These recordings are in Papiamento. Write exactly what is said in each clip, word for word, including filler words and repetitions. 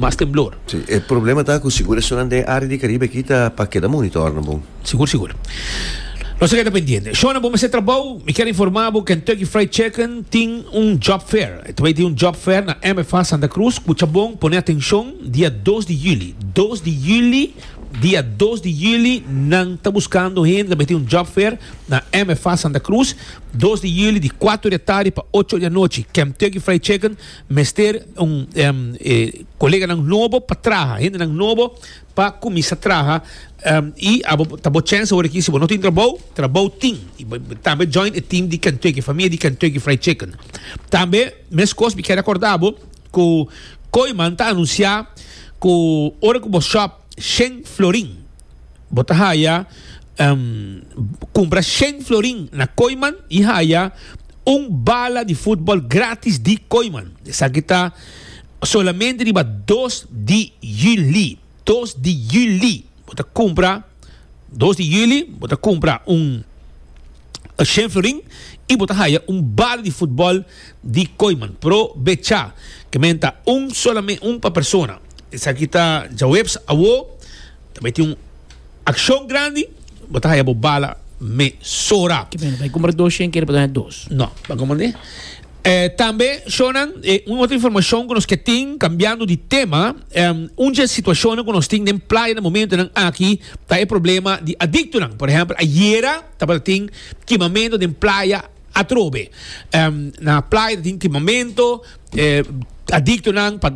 Mas temblor. Si, e problema ta ku sigur esunnan den área di Karibe aki ta pa keda monitor no bon. Sigur sigur. Nos ta keda pendiente. Shona, bo mester trabou? Mi kier informa bo Kentucky Fried Chicken tin un job fair. E ta bay tin un job fair na M F A Santa Cruz. Scucha bon, pone atencion, dia dos di juli. Dos di juli, dia dos di juli nan ta buscando hende, ta bay tin un job fair na M F A Santa Cruz. Dos di juli di cuatro di atardi pa ocho di anochi. Kentucky Fried Chicken mester un um, eh, coleganan nobo pa traha, hendenan nobo pa cuminsa traha um, y abo ta bo chance awor aki. Si bo no tin trabou, trabou tin. Y tambe join e team di Kentucky, famia di Kentucky Fried Chicken. Tambe mescos mi kier recorda bo cu Kooyman ta anuncia cu ora cu bo shop shen florin, bo ta haya um, cumpra shen florin na Kooyman y haya un bala di futbol gratis di Kooyman. Esaki ta solamente riba dos di juli. dos di juli. Bo ta cumpra dos di juli, bo ta cumpra un shen florin y bo ta haya un bala di futbol di Kooyman. Probecha. Ke ta un solamente un pa persona. Esaki ta djaweps awo. Tambe tin un accion grandi. Bo ta haya bo bala mesora. Ke men, bay cumpra dos shen kere pa dos. No, pa comandé. Eh, tambe, Shonan, eh, un otro informacion cu nos cu tin, cambiando di tema, eh, un situacion cu nos tin den Playa na momentonan aki, ta e problema di adictonan. Por ehempel, ayera tabatin kimamento den Playa atrobe. Um, na Playa tin kimamento, eh, adictonan, pa,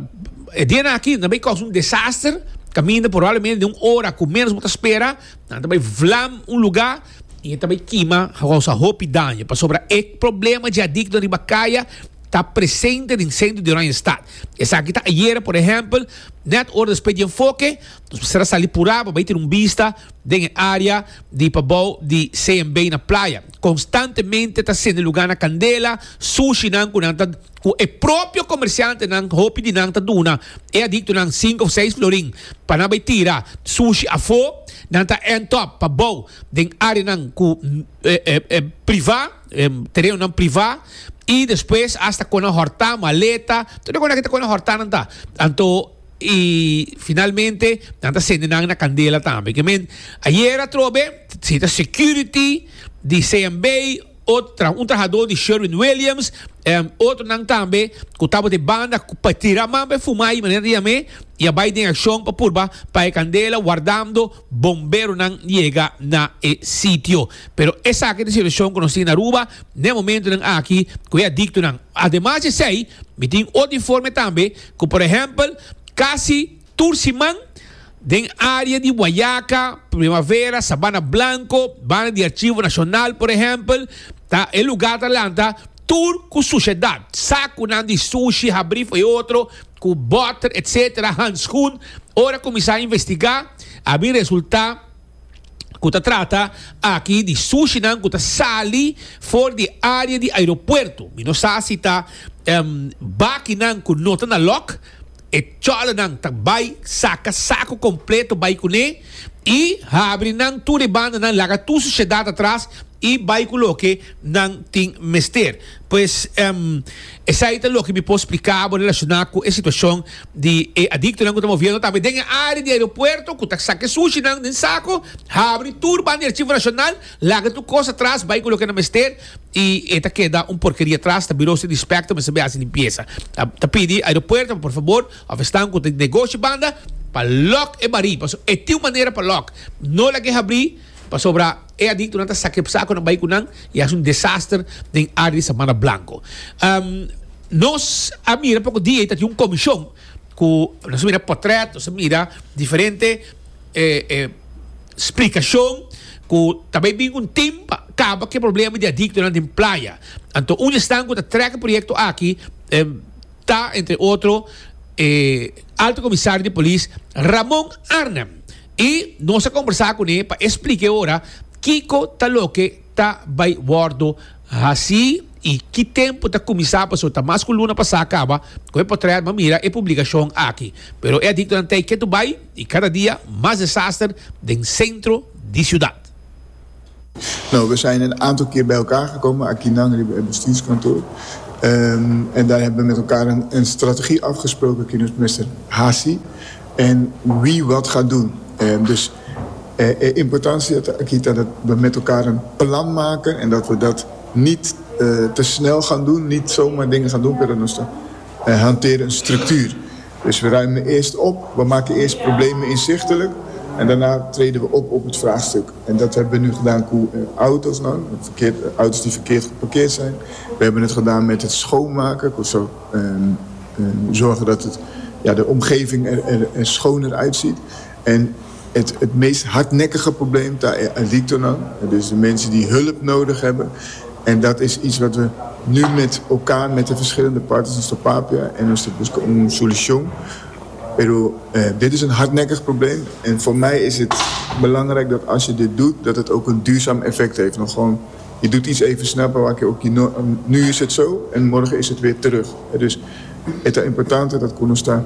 e dia aki, nan bay causa un desaster, caminda probablemente di un ora cu menos bo ta spera, nan bay vlam un lugar, y tambe kima, causa hopi daño. Pasobra e problema di adicto riba caya ta presente den centro di Oranjestad. Esaki ta ayera, por ehempel, net ora despues di Enfoke, nos mester a sali pura, pa tin un bista den area di pabou di C M B na Playa. Constantemente ta sende lugar na candela, sushinan cu nan ta cu e propio comerciantenan, hopi di nan ta duna e adictonan cinco of seis florin pa nan bay tira sushi afo, nan ta end up pabou den areanan cu eh, eh, eh, priva, eh, terenonan priva y despues hasta cu nan horta maleta, tur cu nan cu nan horta nan ta. Anto y finalmente nan ta sende nan na candela tambe. Ke men ayera atrobe, si ta security di C M B, otro, un trahador di Sherwin Williams, um, otronan tambe, cu tabata di banda, pa tira man pa fuma y manera di yam'e, y a bay den accion pa purba pa e candela, wardando bomberonan yega na e sitio. Pero esaki ta e situacion cu nos tin na Aruba, na momentonan aki, cu e adictonan. Ademas di esey, mi tin otro informe tambe, cu por ehempel, casi tur siman, den area di Guayaca, Primavera, Sabana Blanco, banda di Archivo Nacional, por ehempel, ta e lugar ta lanta tur cu sushedad. Saconan di sushi, habri y otro, cu boter, et cetera, handschoen. Ora cuminsa investiga, a bin resulta cu ta trata aki di sushinan cu ta sali for di area di aeropuerto. Mi no sa si ta um, bakinan cu no ta na lock, e cholanan ta bay saca saco completo bay cune y habri nan tur e banda nan laga tur sushedad atras y bay cu loke nan tin mester. Pues um, esey ta loke mi por splica relaciona cu e situacion di e adictonan cu ta moviendo tambe den area di aeropuerto, cu ta saca sushinan den saco, habri tur banda di Archivo Nacional, laga tur cos atras, bay cu loke nan mester y e ta keda un porkeria atras. Ta bureau di inspector mester haci limpieza. Ta, ta pidi aeropuerto, por favor, of esnan cu tin negoshi banda, pa lock e bari, paso e tin un manera pa lock, no lag'e habri, pasobra e adictonan ta saca saco nan bay cu nan y haci un desaster den area di Sabana Blanco. Um, nos a mira poco dia ta un comision cu nos a mira portret, nos a mira diferente eh, eh, splicacion cu tambe bin un team pa caba cu e problema di adictonan den Playa. Anto, un esnan cu ta trek e proyecto aki eh, ta, entre otro, eh, Alto Comisario di Polis Ramon Arnhem. Y nos a combersa cune pa splica ora kico ta loke ta bay wordo haci y ki tempo ta cuminsa, paso ta mas cu luna pasa caba cu e portret m'a mira e publicacion aki. Pero e adictonan ta keto bay y cada dia mas desaster den centro di ciudad. Nou, we zijn een aantal keer bij elkaar gekomen, aki na het bestuurskantoor. Um, en daar hebben we met elkaar een, een strategie afgesproken, ku nos mester hasi, en wie wat gaat doen. Um, dus eh, importantie aki ta dat we met elkaar een plan maken en dat we dat niet uh, te snel gaan doen, niet zomaar dingen gaan doen, maar nos uh, hanteren een structuur. Dus we ruimen eerst op, we maken eerst problemen inzichtelijk en daarna treden we op op het vraagstuk. En dat hebben we nu gedaan met auto's, nou, verkeerd, auto's die verkeerd geparkeerd zijn. We hebben het gedaan met het schoonmaken, zo, um, um, zorgen dat het, ja, de omgeving er, er, er schoner uitziet. En het, het meest hardnekkige probleem, daar adictonan, dus de mensen die hulp nodig hebben. En dat is iets wat we nu met elkaar, met de verschillende partners in Papia en ons een solution. Pero eh, dit is een hardnekkig probleem. En voor mij is het belangrijk dat als je dit doet, dat het ook een duurzaam effect heeft. Nog gewoon, je doet iets even snel, maar ook nu is het zo en morgen is het weer terug. Dus het is importante dat ku nos ta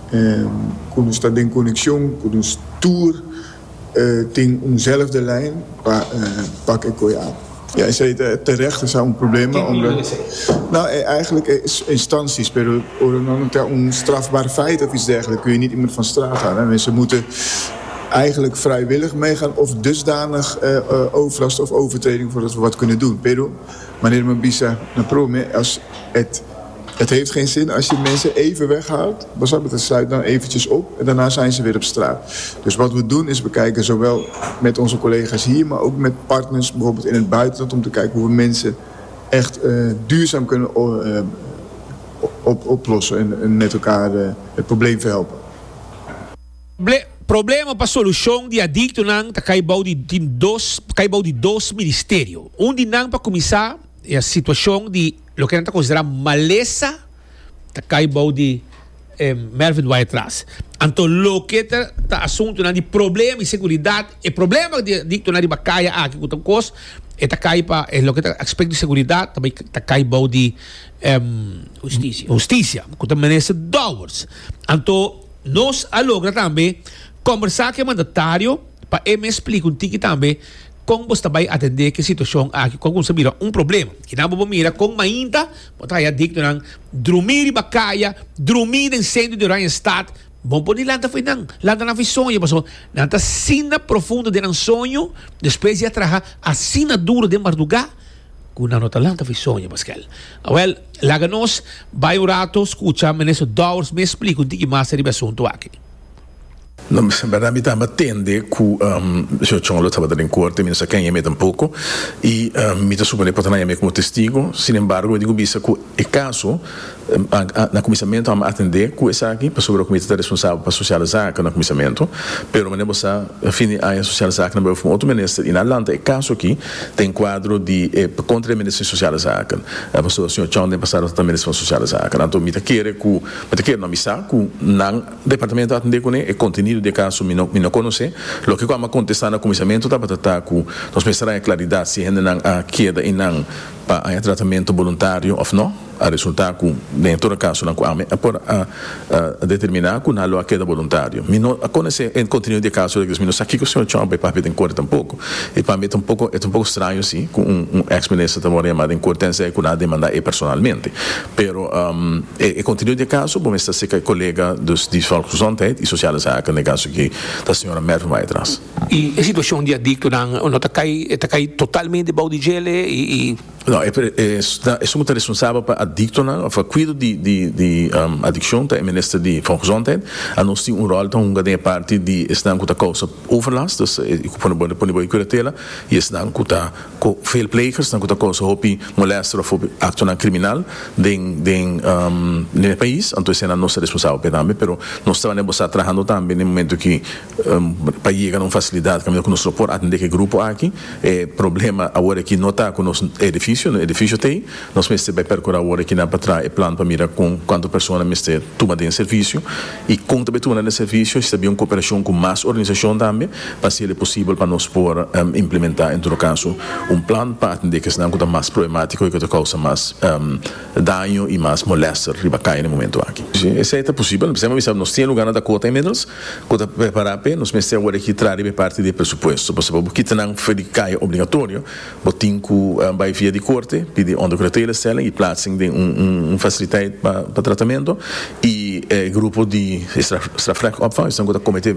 eh, ku nos ta den konekshon, ku nos tur eh, tin eenzelfde lijn, pa, eh, pak e kos aan. Ja, je zei terecht, er zijn een probleem. Omdat, nou, eigenlijk is instanties, pero een strafbaar feit of iets dergelijks, kun je niet iemand van straat halen. Mensen moeten eigenlijk vrijwillig meegaan of dusdanig uh, uh, overlast of overtreding voordat we wat kunnen doen. Pero, wanneer mi bisa na promé, als het, het heeft geen zin als je mensen even weghaalt. Het sluit dan eventjes op en daarna zijn ze weer op straat. Dus wat we doen is we kijken zowel met onze collega's hier, maar ook met partners bijvoorbeeld in het buitenland, om te kijken hoe we mensen echt uh, duurzaam kunnen uh, op, oplossen en, en met elkaar uh, het probleem verhelpen. Ble problema pa solushon di adiktonan ta kai bou di dos kai bou di dos ministerio. Un di nan, pa kuminsá, e situashon di loke nan ta konsiderá malesa ta kai bou di eh, Mervin Wyatt-Ras. Anto loke ta, ta asuntonan di problema di seguridat e problema di adiktonan riba kaya aki ku kos e ta kai pa e loke ta aspekto di seguridat tambe ta kai bou di um, Hustisia. Hustisia ku ta minister Dowers. Anto nos a logra tambe kombersá ku e mandatario pa e mes splika un tiki tambe kon bo ta bai atendé ku e situashon aki, kon bo mira un problema ku nan bo mira kon mainta bo ta adiktonan drumí riba kaya, drumí den sentro di Oranjestad, bo por lanta fo'i nan lanta nan fo'i soño, paso nan ta asina profundo den soño despues di traha asina duru den mardugá ku nan no ta lanta fo'i soño. Pascal, well, laga nos bai un ratu skucha minister Dowers mes splika un tiki mas riba e asuntu aki. No, en berdat mi tambe a tende ku um, señor Chong lo tabata den korte, mi no sa ken a yam'é tampoko, i um, mi ta suponé por ta nan a yam'é komo testigu. Sin embargo, mi tin ku bisa ku e kaso, um, a, a, na kuminsamentu mi a atendé ku esaki, pasobra ku mi ta responsabel pa sociale zaken na kuminsamentu, pero manera bo sa, fin di aña sociale zaken a bai pa otro minister, i nan a lanta e kaso aki den kuadro di eh, kontra e minister di sociale zaken. Eh, pasobra señor Chong den pasado ta minister di sociale zaken. Anto mi ta kere ku, mi ta kere no, mi sa ku nan departamento a atendé kuné. E kontenido di e kaso mi no mi no konosé. Loke ku mi a kontestá na kuminsamentu tabata ku nos mester tin klaridat si hendenan a keda einan pa e tratamentu voluntario òf no. A resultá ku den tur kaso nan ku ami por a, a determiná ku nan lo a keda voluntario. Mi no konosé e kontenido di e kaso, mi no sa kiko señor Chong a bai papia den korte tampoko. I pa mi ta un poko e ta un poko straño si ku un, un ex-minister ta yamá den korte en ku nan a demandá e personalmente. Pero um, e, e kontenido di e kaso, bon, ta serka kolega dus di Volksgezondheid i Sociale Zaken, den kaso ku ta señora Mervin Wyatt-Ras. I e situashon di adiktonan no ta kai ta kai totalmente bou di dje i, i No, e, e, e, ta responsabel pa adiktonan, òf kuido di, di, di um, adikshon, ta minister di Volksgezondheid. I nos tin un ròl ta hunga den parti di esnan ku ta kousa overlast, dus ik pone pone pone bou kuratela, i esnan ku ta veelplegers, nan ku ta kousa hopi molester òf hopi aktonan kriminal den den um, den pais. Anto esei nos ta responsabel p'e tambe, pero nos ta trahando tambe na momento ku um, pa yega na un fasilidat ku nos por atendé e grupo aki. E problema awor aki no ta ku nos edifisio, e edifisio tin, nos mester bai perkurá awor aki na pa traha e plan pa mira ku kuantu persona mester tuma den servisio i kon tambe tuma den servisio, si un kooperashon ku mas organisashon tambe, pa ser posibel pa nos por um, implementá en todo kaso un plan pa atendé ku esnan mas problemátiko i ku ta kousa mas um, daño i mas molester riba kaya na e momento aki. Esei ta posibel, nos tin lugá na Dakota inmiddels, ku ta prepará pa nos mester awor aki traha parti di presupuesto, pasobra bo kita nan for di kaya obligatorio, bo tin ku um, bai via di corte, pidi ondercuratelestelling y plaatsing den un, un, un faciliteit pa, pa tratamento y eh, grupo di straf, strafrechtopvang, esnan cu ta comete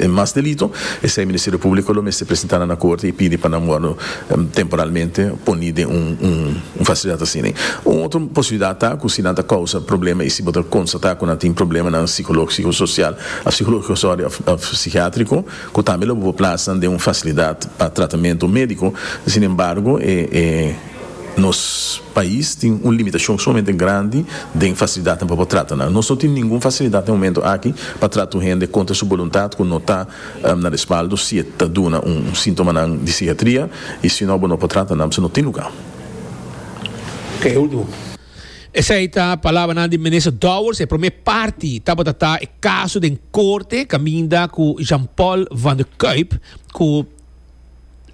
mas delito, esey Ministerio Publico lo mester presenta na corte y pidi pa nan wordo um, temporalmente poni den un, un, un facilidad asina. Un otro posibilidad ta cu si nan ta causa problema y si bo constata cu tin problema na psicologico, social, of psicologico, sorry, of, of psikiatrico, cu tambe lo por plaatsen den un facilidad pa tratamento medico. Sin embargo, eh, eh, nos pais tin un limitacion sumamente grandi di facilidad pa trata. Nos no tin ningun facilidad na e momento aki pa trata hende contra su boluntad, cu no ta um, na respaldo, si ta duna un, un sintoma di psikiatria, y si no, no por trata, no, no tin luga. Ok, ultimo. Esey ta palabra di minister Dowers. E prome parti tabata e caso den corte caminda cu Jean-Paul van der Kuyp, cu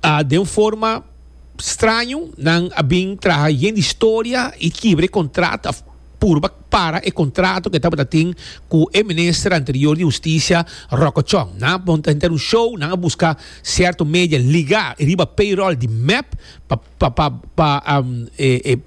uh, di un forma straño nan a bin traha yen historia y kibra contrato, purba para e contrato cu tabata tin cu e minister anterior di Husticia, Rocco Chong. Nan a monta un show, nan a busca cierto media liga riba payroll di M E P pa pa pa, pa um, e, e,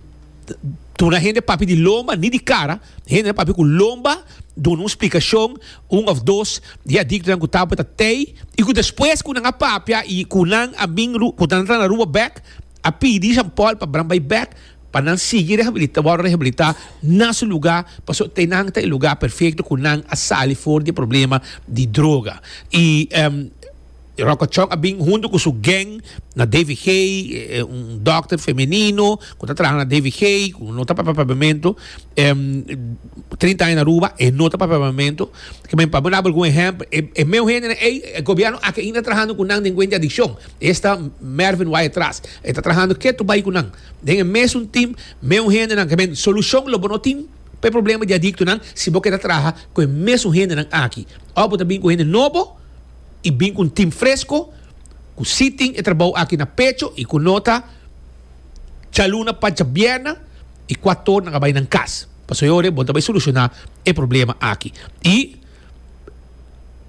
duna hende papia di lomba, ni di cara, hende papia cu lomba, duna un splicacion, un of dos, di adicto cu tabata tey, y cu despues cu nan a papia y cu nan a bin cu nan na rua back, a pidi Jean Paul pa nan bay back, pa nan sigui rehabilita, awor rehabilita na su luga, paso te nan ta e luga perfecto cu nan a sali for di problema di droga. Y um, Rocco Chong a bin hunto cu su gang na D V G, eh, un dokter femenino, cu ta trahando na D V G, cu no ta papia papiamento, um, trinta aña na Aruba, y no ta papia papiamento. Kiermen, pa duna algun ehempel, e, e mesun hende, e gobierno aki ainda trahando cu nan den di adiccion. Esta Mervin Wyatt Ras, ta trahando keto bay cu nan. Den mesun team, mesun hende nan, kiermen, solucion lo no tin pa problema di adicto nan, si bo kier traha cu e mesun hende nan aki. Of bo bin cu hende nobo, y bin cu un team fresco, cu si tin e trabou aki na pecho y cu no ta dialuna pa diabierna y cuater or nan bay na cas. Paso ora, bo bay soluciona e problema aki. Y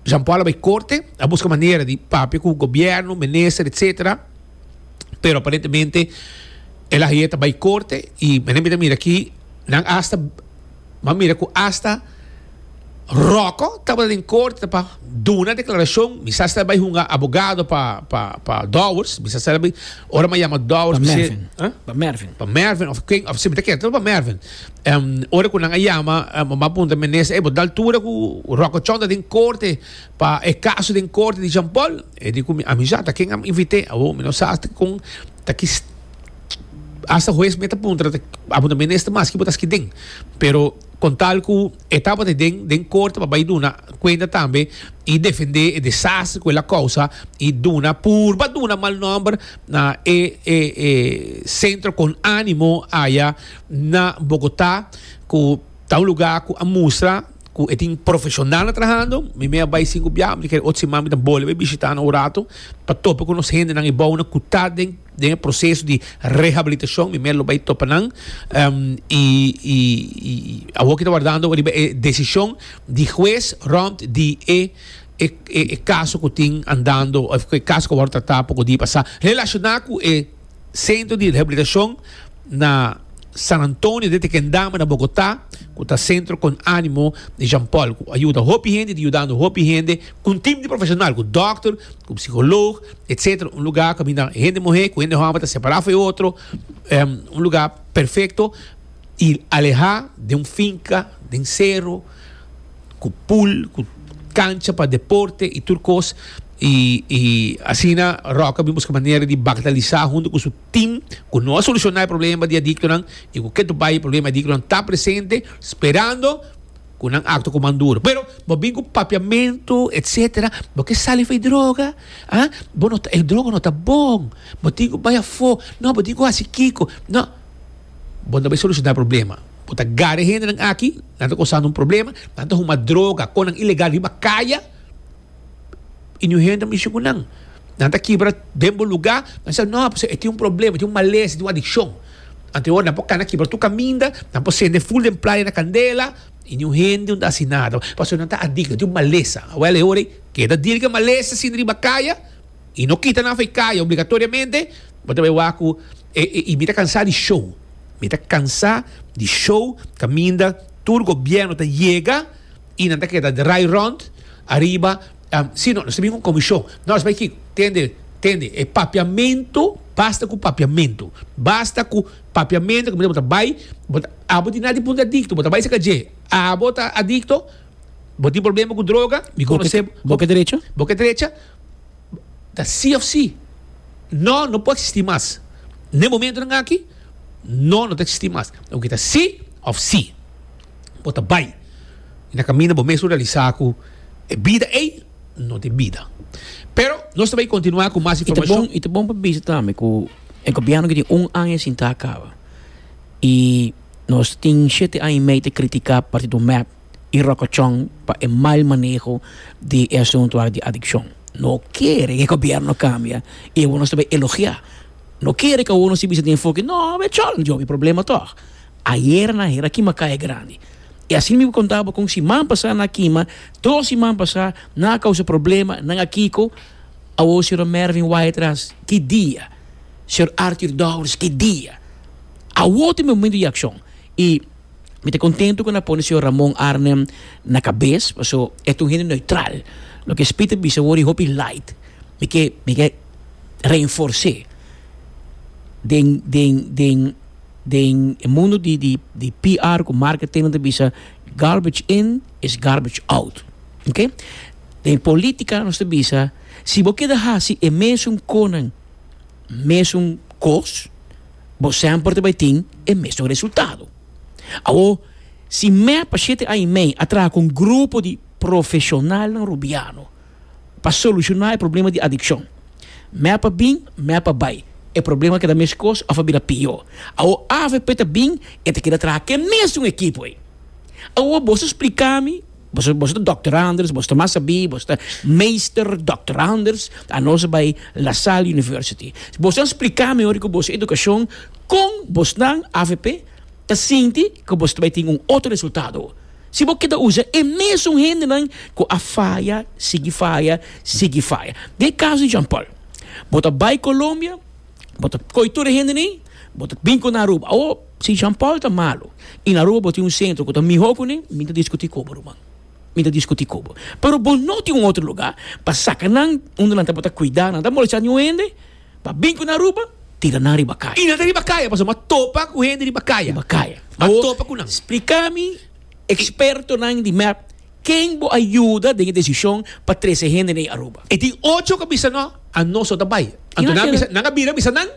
Jean Paul bay corte, a busca manera di papia cu gobierno, minister, et cetera. Pero aparentemente el a bay corte y mi mira aki, nan hasta, ma mira cu hasta Rocco tabata den corte pa duna declaracion, mi sa bay hunga abogado pa pa pa Dowers, mi sa bay ora mi yama Dowers, Pa Mervin. Pa Mervin. Pa Mervin of ken of si mi ta pa Mervin. Um, ora cu nan a yama, um, m'a puntra minister, eh, bo altura cu Rocco Chong ta den corte pa e caso den corte di Jean Paul, e di cu ami sa ta ken a invit'e, awo mi no sa con ta ki hasta hues mes ta puntra a puntra minister mas ki bo ta den, pero con tal cu e tabata den den corte pa bay duna cuenta tambe y defende e desastre cu el a causa y duna purba duna mal nomber na e, e, e Centro Con Animo aya na Bogotá, cu ta un luga cu a mustra cu tin profesional trahando. Mi mes a bay cinco bia, mi kier otro siman mi ta bolbe bay bishita un rato pa topa cu nos hende nan y bon cu ta den den proceso di rehabilitacion. Mi mes lo bay topa nan um, y y y awor cu ta wardando e decision di hues rond di e e, e, e caso cu tin andando, of e caso cu awor ta poco dia pasa relaciona cu e centro di rehabilitacion na San Antonio de Tequendama na Bogotá, cu ta Centro Con Animo di Jean Paul, cu a yuda hopi hende, yudando hopi hende, cu un team di profesional, cu dokter, cu psicologo, et cetera. Un luga cu hende muhe, cu hende homber ta separa for di otro, um, un luga perfecto y aleha di un finca, di un cero, cu pool, cu cancha pa deporte y tur cos. Y, y asina Rocco a busca manera di bagatelisa hunto cu su team cu no a soluciona e problema di adicto nan y cu keto bay problema di adicto nan ta presente, sperando cu nan actua cu duro. Pero bo bin cu papiamento, et cetera. Bo kier sali for di droga, ah? Bo no ta, e droga no ta bon. Bo tin cu bay afo. No, bo tin cu haci kico. No. Bo no bay soluciona e problema. Bo ta gara hende nan aki, nan ta causando un problema, nan ta huma droga, cu nan ilegal riba caya, y ningun hende mishi cu nan. Nan ta kibra den bo luga, nan sa, no, tin un problema, tin un malesa, tin un adiccion. Anto, nan por cana kibra tur caminda, nan por cende full den playa na candela, y ningun hende no ta haci nada. Paso nan ta adicto, tin un malesa. Wel, ora, keda deal cu malesa asina riba caya, y no kita nan for di caya obligatoriamente, bo ta bay wak cu E, e, i mi ta kansá di show. Mi ta kansá di show kaminda tur gobièrnu ta yega i nan ta keda draai rond ariba. Um, si no, nos tin un komishon. Nos bai kiko, tende, tende, e papiamentu, basta ku papiamentu. Basta ku papiamentu, ku bo ta bai, bo ta, abo tin nada di punto adikto, bo ta bai saka dje. Abo ta adikto, bo tin problema ku droga, mi konosé. Bo ke drecha? Bo ke drecha, ta sí òf sí. No, no por eksistí mas. Na e momentonan aki, no, no ta eksistí mas. Loke ta sí òf sí. Bo ta bai. I na kaminda bo mes lo realisá ku e bida ei no ta e bida. Pero nos ta bai kontinuá ku mas I ta informashon. bon, i ta bon pa bisa tambe ku e gobièrnu ku tin un aña sintá kaba i nos tin shete aña i mei ta kritiká partido mep i Rokochon pa e mal maneho di e asuntu aki di adikshon. No kere ku e gobièrnu kambia i awor nos ta bai elogiá. No kere ku awor nos ta bisa den enfoke, no, be chòl, djobe problema tòg. Ayer nan hera kima kaya grandi. I asina mi por konta bo kon siman pasá nan a kima, dos siman pasá nan a kousa problema, nan a kiko. Awor señor Mervin Wyatt-Ras, ki dia? Señor Arthur Dowers, ki dia? Awor ta e momento di akshon. I mi ta kontentu ku nan a pone señor Ramon Arnhem na kabes, paso e ta un hende neutral. Loke Speed a bisa awor e hopi light. Mi ke mi ke reinfors'é den den den den e mundu di di di P R ku marketing nan ta bisa garbage in is garbage out. Ok? Den politica nos ta bisa si bo keda hasi e mesun konan mesun kos, bo semper ta bai tin e mesun resultado. Awo, si mep pa shete aña i mei a traha ku un grupo di profeshonalnan rubiano pa solushoná e problema di adikshon, mep a bin, mep a bai, e problema a keda meskos òf a bira pió. Awo A V P ta bin, e ta keda traha ku e mesun ekipo ei. Awo boso splika mi, boso, boso ta dòkter Anders, boso ta mas sabí, boso ta meester dòkter Anders, anos a bai La Salle University. Boso a splika mi ora ku boso edukashon kon bosnan A V P ta sinti ku boso ta bai tin un otro resultado. Si bo keda usa e mesun hendenan ku a faya, sigui faya, sigui faya. Den e kaso di Jean Paul, bo ta bai Colombia, bo ta koi tur e hendenan, bo ta bin ku na Aruba. Awo, si Jean Paul ta malo i na Aruba bo tin un sentro ku ta mihó kuné, mi ta diskutí ku bo, ruman. Mi ta diskutí ku bo. Pero bo no tin un otro lugá pa saka nan unda nan tabata kuidá, nan ta molestá niun hende, pa bin ku na Aruba, tira nan riba kaya. I nan ta riba kaya, pasobra mi a topa ku hende riba kaya. Riba kaya. Mi a Awo, topa ku nan. Splika mi, ekspertonan di mep, ken bo a yuda den e desishon pa trese hende na Aruba? E tin ocho ku a bisa no, anos no ta bai. Anto I nan nan a keda. bisa, nan a bira bisa nan,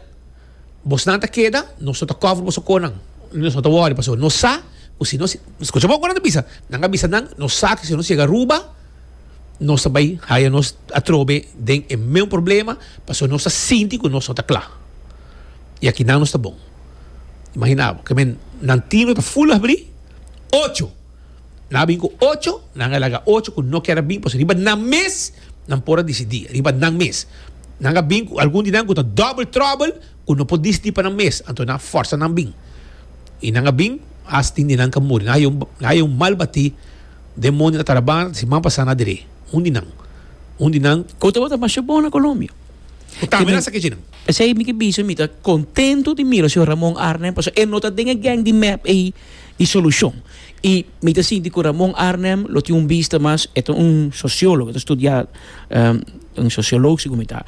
bosnan ta keda, nos no ta cover boso konan. Nos no ta worry, pasobra nos sa ku si nos, skucha bon ku nan ta bisa, nan a bisa nan, nos sa ku si nos yega Aruba, nos ta bai haya nos atrobe den e meun problema, pasobra nos ta sinti ku nos no ta kla. I aki nan nos ta bon. Imagina bo, ke men nan tino ta full abri, ocho. Nan a bin ku ocho, nan a laga ocho ku no kier a bin, pasobra riba nan mes nan por a disidí, riba nan mes. Nan a bin ku algun di nan ku ta double trouble, ku no por disidí pa nan mes, anto nan a forsa nan bin. I nan a bin, hasta tin di nan ka muri. Nan haya un, nan haya un mal batí den mondi na Tarabana, siman pasá na Deré. Un di nan. Un di nan. Ku tabata masha bon na Colombia. Ku tambe nan sa ke dje nan. P'esei mi ke bisa mi ta kontentu di mira señor Ramon Arnhem, pasobra e no ta den e gang di mep ei di solushon. I mi ta sinti ku Ramon Arnhem lo tin un bista mas, e ta un sosiólogo, e ta studia, un sosiolog segun mi ta,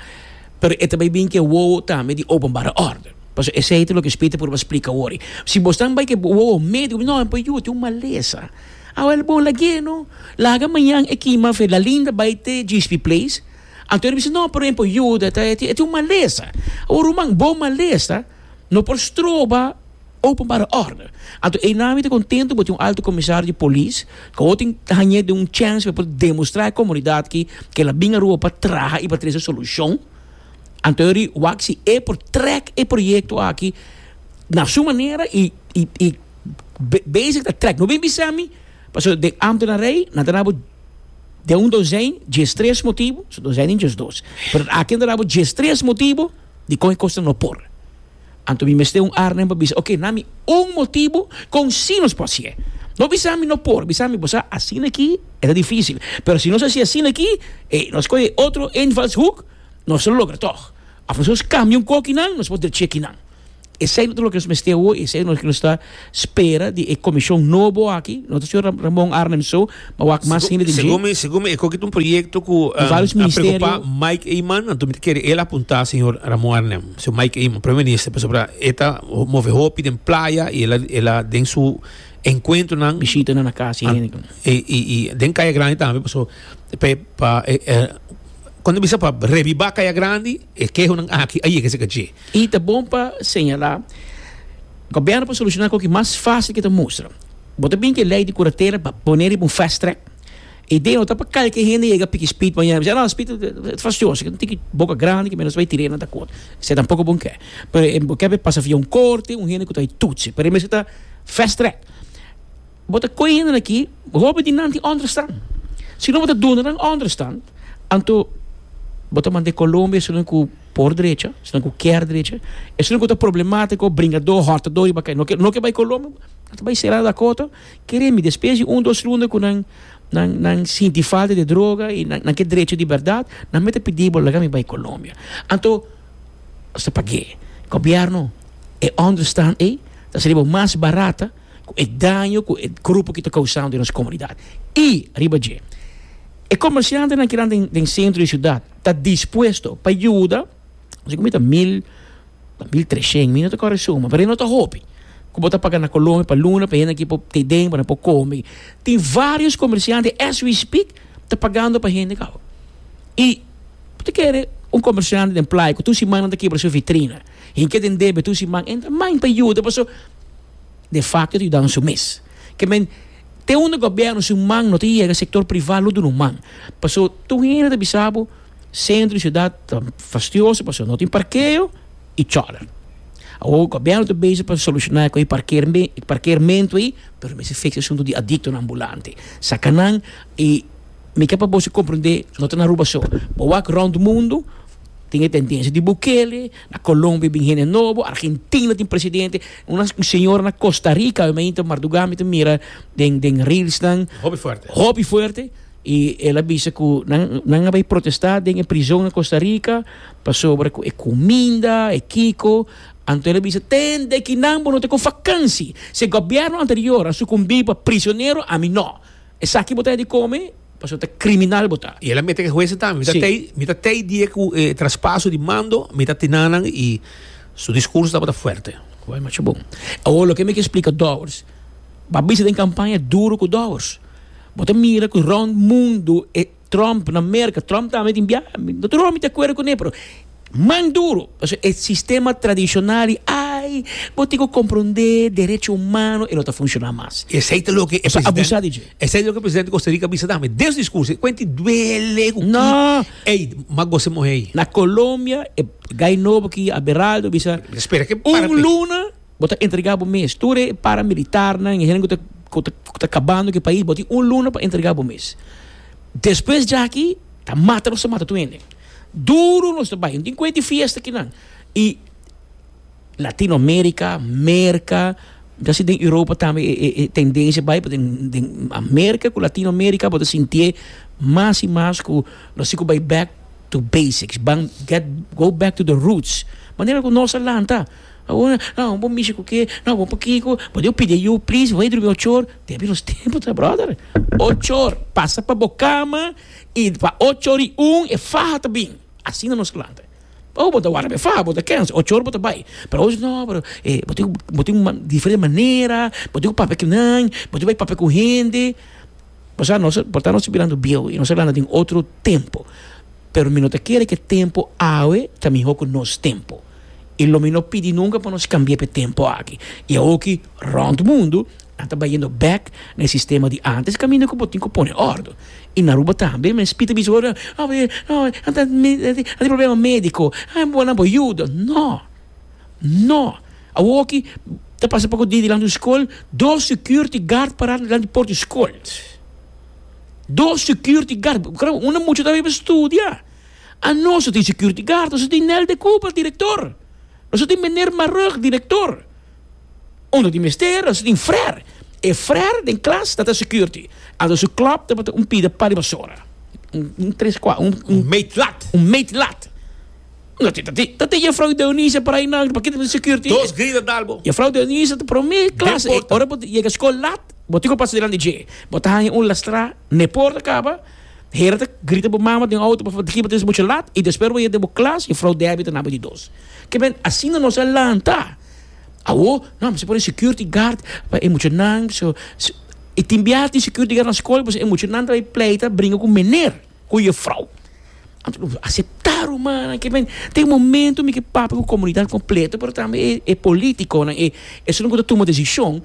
pero e ta bai bin ku e wowo tambe di openbare orde. Pasobra esei ta loke Speed ta purba splika awor. Si bo stan bai ku e wowo médiko, no, e por yuda, tin un malesa. Awel bon lag'é no, laga mañan e kima fe La Linda bai te G S P Place. Anto e bisa, no, pero e por yuda, e tin un malesa. Awor ruman, bo malesa no por stroba openbare orde. Anto e nami ta kontentu bo tin un alto komisario di polis ku awor tin hañ'é den un chèns pa por demostrá e komunidat ki ke el a bin Aruba pa traha i pa trese solushon. Anto e ri wak si e por trèk e proyekto aki na su manera i, i, i basic ta trèk. No bin bisa mi, pasobra den ambtenarij nan ta daba den un dozijn diestres motibu, so dozijn den diesdos, pero aki nan ta daba diestres motibu di kon e kosnan no por. Anto mi mester un Arnhem pa bisa, ok, na mi un motibu kon si nos por hasié. No bisa mi no por, bisa mi bo sa asina aki e ta difícil, pero si nos hasi asina aki, eh, nos kohe otro invalshoek, nos lo logra tog. Of nos kambia un kokinan, nos por drechi akinan. Esey no ta loke nos mester awo, esey no loke nos ta spera di e comision nobo aki, no ta señor Ramon Arnhem so, ma wak mas hende den dje. Segun mi, segun mi e koki ta un proyecto cu Di varios a ministerio. preocupa Mike Eman, anto mi ta kere el a apunta señor Ramon Arnhem, señor Mike Eman, Prome Minister, pasobra e ta move hopi den playa y el a, el a den su encuentronan, Bishitanan na cas y hende. Y, y, y den Caya Grandi tambe, pasobra pa, pa, e, e, Cuando bisa pa reviva Caya Grandi, e kehonan aki a yega cerca dje. Y ta bon pa señala, gobierno por soluciona coki mas facil ke ta mustra. Bo ta bin ke ley di curatela pa pone riba un fast track. E idea no ta pa calke hende yega piki speed mañana. Bisa, no, speed ta fastioso, tin ki boca grandi ke menos bay tir'é nan ta cot. Esei tampoco bon ke. Pero e bo ke pasa via un corte, un hende cu ta bay toetsen. Pero e mester ta fast track. Bo ta koe hendenan aki, hopi di nan tin onderstand. Si no bo ta duna nan onderstand, anto bo ta manda e Colombia esunnan ku por drecha, esunnan ku kier drecha, esunnan ku ta problemátiko, bringadó, hòrtadó riba kai. No ke no ke bai Colombia, nan ta bai sera Dakota. Kere mi, despues di un dos luna ku nan nan nan sinti falta di droga i nan nan ke drecha di bèrdat, nan mester pidi bo laga mi bai Colombia. Anto nos ta pag'é. Gobièrnu, e onderstand ei ta sali bo mas barata ku e daño ku e grupo ki ta kousando den nos komunidat. I riba dje, e komersiantenan kinan den den sentro di siudat ta dispuesto pa yuda, si ku mi ta mil, ta mil treshen, mi no ta kòrda e suma, pero e no ta hopi ku bo ta paga na Colombia pa luna pa hende aki por te den pa nan por kome. Tin vários komersiante as we speak ta pagando pa hende kaba. I bo ta kere un komersiante den playa ku tur siman nan ta kibra su vitrina, hinke den debe tur siman, entra man pa yuda pasobra de facto ta yuda su mes. Ke men te unda gobierno su man no ta yega sector priva lo duna un man. Paso tur hende ta bisa bo centro di ciudad ta fastioso paso no tin parkeo y choler. Awor gobierno ta bezig pa soluciona cu e parkeermento ey pero mester fixa asunto di adictonan ambulante. Saca nan y mi ke pa boso comprende no ta na Aruba so. Bo wak rond mundo tin e tendencia di Bukele, na Colombia bin hende nobo, Argentina tin presidente, una señora na Costa Rica, mi ta marduga mi ta mira den den reelsnan. Hopi fuerte. Hopi fuerte y el a bisa cu nan nan a bay protesta den e prison na Costa Rica pasobra cu e cuminda, e kico, anto el a bisa tende kinan bo no ta cu vakantie, si e gobierno anterior a sucumbi pa prisionero ami no, esaki bo ta di come. Pasobra ta criminal bo ta. Y el a mete cu huesnan tambe. Mi ta Sí. tei, mi ta tei dia cu e traspaso di mando, mi ta tinanan y su discurso tabata fuerte. Wel, macho bon. Awor loke mi ke splica Dowers, bo a bisa den campaña duro cu Dowers. Bo ta mira cu rond mundo e Trump na Merca, Trump tambe tin bia, no tur ora mi ta acuerdo cune, pero man duro. Pasobra e sistema tradicional di ay, bo tin cu comprende derecho humano, e no ta funciona mas. Esey ta loke e Bo sa president, abusa di dje. esey ta loke e presidente di Costa Rica bisa tambe. Den su discurso, e cuenti duele cu ki, No. ey, m'a gosa mohe ey. Na Colombia, e guy nobo ki, Aberaldo, bisa, Mi ta spera ke para un pe. luna bo ta entrega bo mes. Tur e paramilitarnan, e hende cu ta, cu ta, cu ta cabando cu e pais, bo tin un luna pa entrega bo mes. Despues djaki, ta mata nos ta mata tur hende. Duro nos ta bai, no tin cuenta di fiesta kinan. Y Latinoamerica, Merca, ya si den Europa tambe e, e, e tendencia bai, pero den, den America cu Latinoamerica bo ta sintié mas y mas cu nos tin cu bai back to basics, ban get, go back to the roots. Manera cu nos a lanta. Awor, no, bo mishi cu ke, no, bo pakico, bo debe pidi ayu, please, bo drumi ocho or. Debi nos tempo ta, brother. Ocho or, pasa pa bo cama y pa ocho or y un e faha ta bin. Asina nos lanta. Oh, bo ta warda pa e faha, bo ta kens, ocho or bo ta bay. Pero awo no, pero eh, bo tin, bo tin un diferente manera, bo tin cu papia cu nan, bo tin cu bay papia cu hende. Pasobra nos, por ta nos ta birando bieu y nos ta lanta den otro tempo. Pero mi no ta kere ke tempo awe ta miho ku nos tempo. I lo mi no pidi nunka pa nos kambia pa e tempo aki. I awoki rònt mundu nan ta bayendo bèk na e sistema di ántes kaminda ku bo tin ku pone òrdu. I na Aruba tambe men spita bisa ora, oh, oh, nan ta nan tin problema médiko, ah bo nan por yuda. No! No! Awoki ta pasa poko dia dilanti un skol, dos security guard pará dilanti porta di skol. Dos security guard, unda mucha ta bay pa studia? Anos no tin security guard, nos no tin Nel de Cooper, director, nos no tin meneer Marugg, director. Unda tin mester, nos no tin frère. E frère den klas ta ta security. Anto su klop tabata un pida pa di basora. Un, un tres, cua, un, un Un meetlat. Un meetlat. No, dat dat dat juffrouw Denise para aí na pakete de security. Dos grita dal bo. Juffrouw Denise ta prome klas. Den porta. Ora bo yega scol laat, bo tin cu pasa dilanti dje. Bo ta haña un lastra n'e porta caba. Hera ta grita bo mama den auto pa di bo mucho laat y despues bo yega den bo klas, juffrouw Debbie ta na bo di dos. Ke men asina nos a lanta. Awo, no, mester pone security guard pa e muchanan so, so y tin bia tin security guard na scol, pues e muchanan ta bay pleita bringa cu meneer, cu juffrouw. Anto, acepta ruman, ke men tin un momento mi ke papia cu comunidad completo, pero tambe e, e politiconan, e esunnan cu ta tuma decision.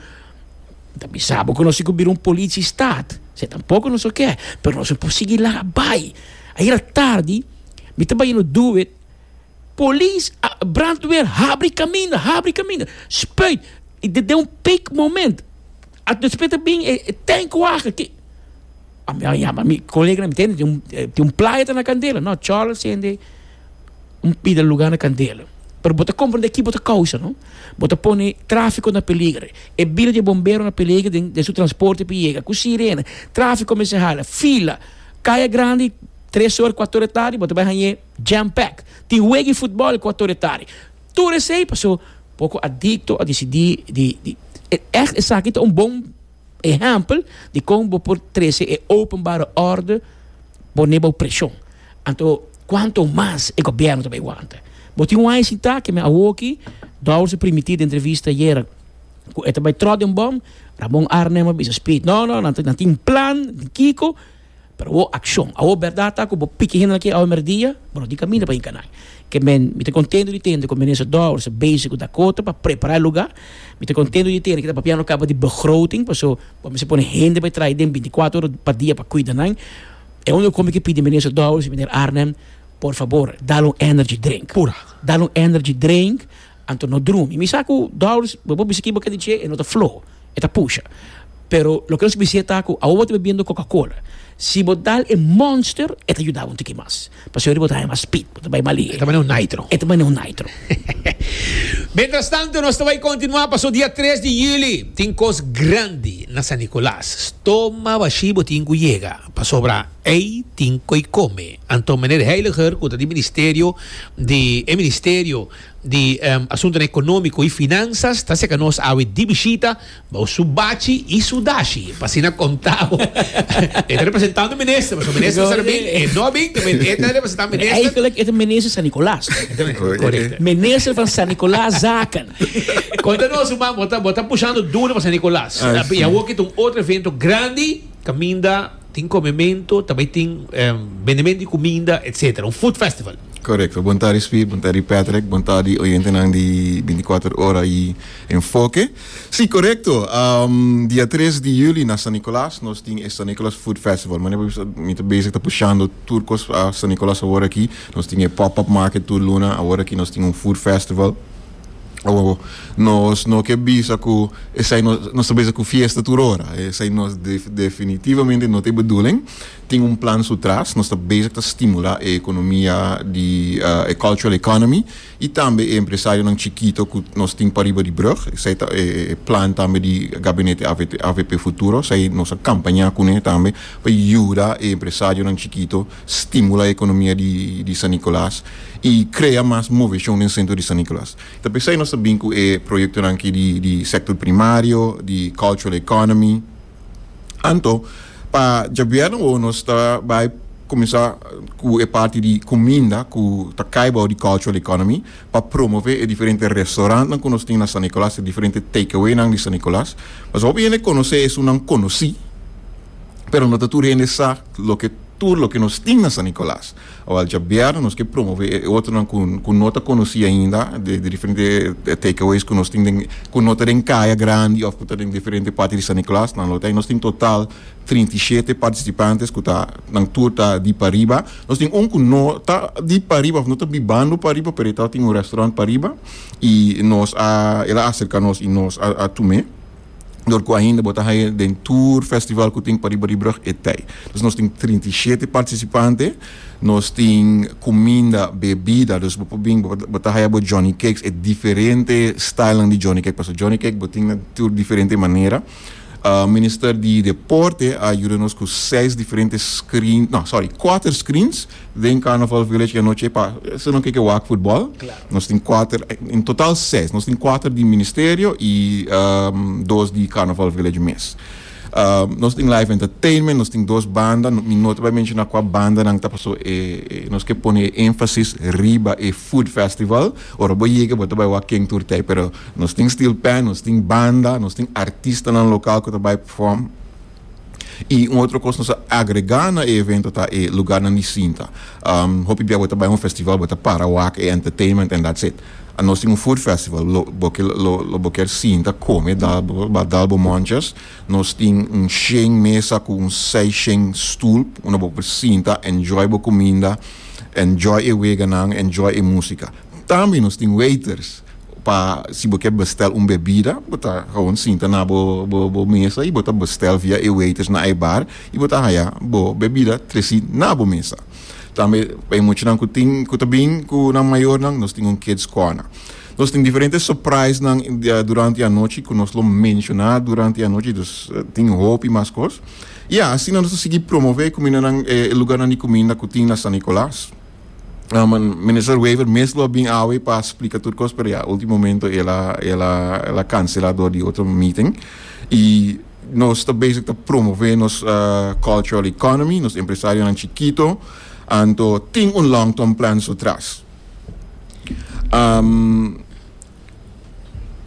Ta bisa bo cu nos tin cu bira un politiestaat. Se tampoco nos ke, pero nos no por sigui laga bay. Ayera tardi, mi ta bayendo Do It, polis, brandweer, habri caminda, habri caminda, spuit. Y dit un peak moment. A despues ta bin e, e tankwagen ki a mi yama mi colega, mi tende, tin un tin un playa ta na candela. No, Charles sende un pida lugar na candela. Pero bo ta comprende ki bo ta causa, no? Bo ta pone trafico na peligro. E bida di bombero na peligro den, den su transporte pa yega. Cu sirena, trafico mester hala, fila, caya grandi, tres or, cuater or tardi, bo ta bay haña jam pack. Tin wega di futbol cuater or tardi. Tur esey paso poco adicto a dicidi di, di echt esaki ta un bon ehempel di con bo por trece e openbare orde pone bo presion. Anto, cuanto mas e gobierno ta bay wanta? Bo tin un aña sinta ke men awoki, Dowers a primiti den entrevista ayera cu e ta bay trot den bom, Ramon Arnhem a bisa Speed, no, no, nan tin un plan, tin kico, pero awo accion. Awo berdad ta cu bo piki hende aki awe merdia, bo no tin caminda pa hinca nan. Ke men, mi ta contento di tende cu minister Dowers ta bezig cu Dakota pa prepara e lugar. Mi ta contento di tende cu ta papiando caba di begroting, paso bo mester pone hende bay traha den binticuater ora pa dia pa cuida nan. E unda cu mi ke pidi minister Dowers y meneer Arnhem, por fabor, dal un energy drink. Pura. Dal un energy drink, anto no drumi. Mi sa cu Dowers, bo por bisa kibo ke di dje, e no ta floho, e ta pusha. Pero loke nos bisa ta cu awo bo ta bebiendo Coca-Cola. Si bo dal e Monster, e ta yuda bo un tiki mas. Pasobra bo ta haña mas speed, bo ta bai mali. E ta manera un nitro. E ta manera un nitro. Mientras tanto, nos ta bai continua paso dia tres di juli tin cos grandi na San Nicolas. Stoma bashi bo tin cu yega, pasobra ey tin coy come. Anto meneer Heiliger, cu ta di ministerio di e ministerio di Asuntonan Economico y Finanzas, ta seca nos awe di bishita bao su bachi y su dashi, pa asina conta bo. E ta representando minister, pasobra minister sa bin, e no a bin, e ta representando minister. Eigenlijk e ta minister San Nicolas. Correcto. Minister van San Nicolas Zaken. Conta nos, man, bo ta, bo ta pushando duro pa San Nicolas. Y awor ki ta un otro evento grandi, caminda tin comemento, tambe tin bendemento di cuminda, etcetera. Un food festival. Correcto. Bon tardi Speed, bon tardi Patrick, bon tardi oyentenan di binticuater ora y Enfoke. Si, correcto. Um, dia tres di juli na San Nicolas nos tin e San Nicolas Food Festival. Mane mi ta bezig ta pushando tur cos a San Nicolas awor aki. Nos tin e pop-up market tur luna, awor aki nos tin un food festival. Awor, nos no ke bisa ku esei nos, nos ta bezig ku fiesta tur ora. Esei nos definitivamente no ta e bedoeling. Tin un plan su tras, nos ta bezig ta stimula e ekonomia di e cultural economy i tambe e empresarionan chikito ku nos tin pariba di brug. Esei ta e plan tambe di gabinete A V P Futuro. Esei nos a kampaña kuné tambe pa yuda e empresarionan chikito stimula e ekonomia di di San Nicolas i krea mas moveshon den sentro di San Nicolas. Ta p'esei nos ta bin ku e proyektonan aki di di sektor primario, di cultural economy. Anto, pa djabièrnè awor nos ta bai kuminsá ku e parti di kuminda ku ta kai bou di cultural economy pa promové e diferente restaurantnan ku nos tin na San Nicolas, e diferente takeawaynan di San Nicolas. Pasobra hopi hende konosé esunnan konosí, pero no ta tur hende sa loke tur loke nos tin na San Nicolas. Awal djabièrnè nos ke promové e otronan ku ku no ta konosí ainda, de de diferente takeaways ku nos tin den ku no ta den kaya grandi òf ku ta den diferente parti di San Nicolas. Nan lo ta nos tin total trinta i shete participantes ku ta nan tur ta di pariba. Nos tin un ku no ta di pariba òf no ta bibando pariba, pero e ta tin un restaurant pariba i nos a el a aserka nos i nos a a tum'é. Dor ku ainda bo ta haña den tur festival ku tin pariba di brug e tei. Dus nos tin trinta i shete partisipante, nos tin kuminda, bebida, dus bo por bin bo ta haña bo Johnny Cakes, e diferente stylenan di Johnny Cake, pasobra Johnny Cake bo tin na tur diferente manera. Uh, minister di Deporte a yuda nos cu seis diferente screen, no, sorry, cuater screens den Carnival Village anochi pa esnan cu kier wak futbol. Claro. Nos tin cuater, en total seis. Nos tin cuater di ministerio y um, dos di Carnival Village mes. Um, nos tin live entertainment, nos tin dos banda, mi no ta bay menciona cua banda nan ta, paso e, e, nos kier pone enfasis riba e food festival. Ora bo yega, bo ta bay wak ken tur t'ey, pero nos tin steel pan, nos tin banda, nos tin artistanan local cu ta bay perform. Y un otro cos nos a agrega na evento ta e lugarnan di sinta. Um, hopi bia bo ta bay un festival, bo ta para wak e entertainment and that's it. A nos tin un food festival, lo bo kier lo lo bo kier sinta come dal bo dal bo monchers. Nos tin un shen mesa cu un seis shen stoel, unda bo por sinta, enjoy bo cuminda, enjoy e weganan, enjoy e musica. Tambe nos tin waiters pa si bo kier bestel un bebida, bo ta gewoon sinta na bo bo bo mesa y bo ta bestel via e waiters na e bar y bo ta haya bo bebida treci na bo mesa. Tambe e muchanan cu tin cu ta bin cu nan mayornan, nos tin un kids corner. Nos tin diferente surprise nan durante e anochi cu nos lo menciona durante e anochi, dus tin hopi mas cos. Ja, asina nos ta sigui promove cuminda nan eh, lugarnan di cuminda cu tin na San Nicolas. Um, minister Wever mes lo bin awe pa splica tur cos, pero ja, ultimo momento el a el a el a cancela door di otro meeting. Y nos ta bezig ta promove nos uh, cultural economy, nos empresarionan chikito, anto tin un long term plan so tras. Um,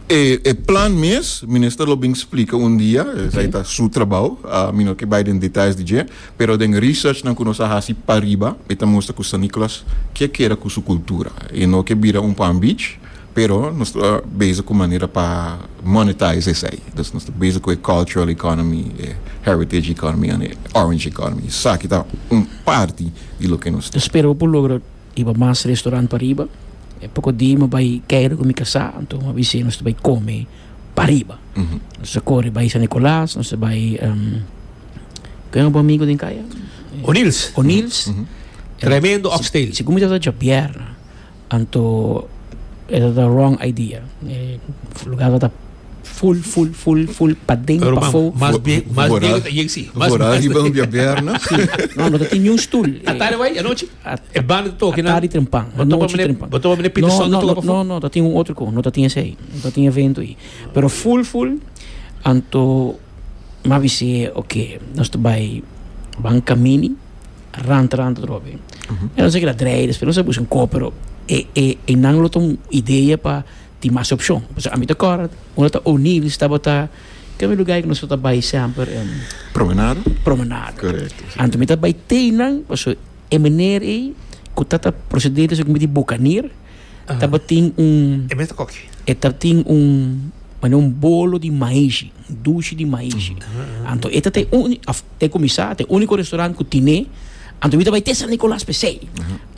e, e plan mes, minister lo bin splica un dia, okay. Ta su trabou, uh, mi no kier bay den details di dje, pero den research nan cu nos a hasi pariba, e ta mustra cu San Nicolas kier keda cu su cultura. E no kier bira un Palm Beach, pero nos ta bezig cu manera pa monetize esey. Dus nos ta bezig cu e cultural economy, e heritage economy y orange economy. Esaki ta un parti di loke nos Dus spera por logra hiba mas restaurant pariba. E poco dia mi a bay keiro cu mi casa, anto m'a bisa nos bay come pariba. Uhum. Nos a core bay San Nicolas, nos a bay um, ken bo amigo den caya? O'Neill's. O'Neill's. Uhum. Tremendo oxtail. Si cuminsa diabierna, anto era the wrong idea. Eh, lugar ta full, full, full, full, paden, Pero pafo. mas bien, mas Vooral- bien, si, mas Vooral mas riba un diabierna. No, no tin un stoel. Atardi bay, anochi. A- E banda toca na. Atardi trempan. Bo topa Anochi mene- trempan. bo topa mene Peterson No, toca no, pafo? no, no, tatin un otro cos, no tatin esey, no tatin evento ey. Pero full, full, anto m'a bisa, ok, nos ta bay ban camini, rand, rand trobe. E no sa cu drei, pero no sa busca un co, pero e e e nan lo un idea pa tin mas opcion. Pues ami ta corda, unda ta O'Neill's tabata cu lugar cu nos ta bay semper um, Promenade? Promenade. Correcto. Anto mi ta bay teinan, paso e meneer ei, cu tata procedente so di Bucanier, tabatin un E mester koki. E tabatin un mane un bolo di maishi, un dushi di maishi. Anto e ta un af te cuminsa, te unico restaurant cu tine, anto mi ta bay te San Nicolas p'esey.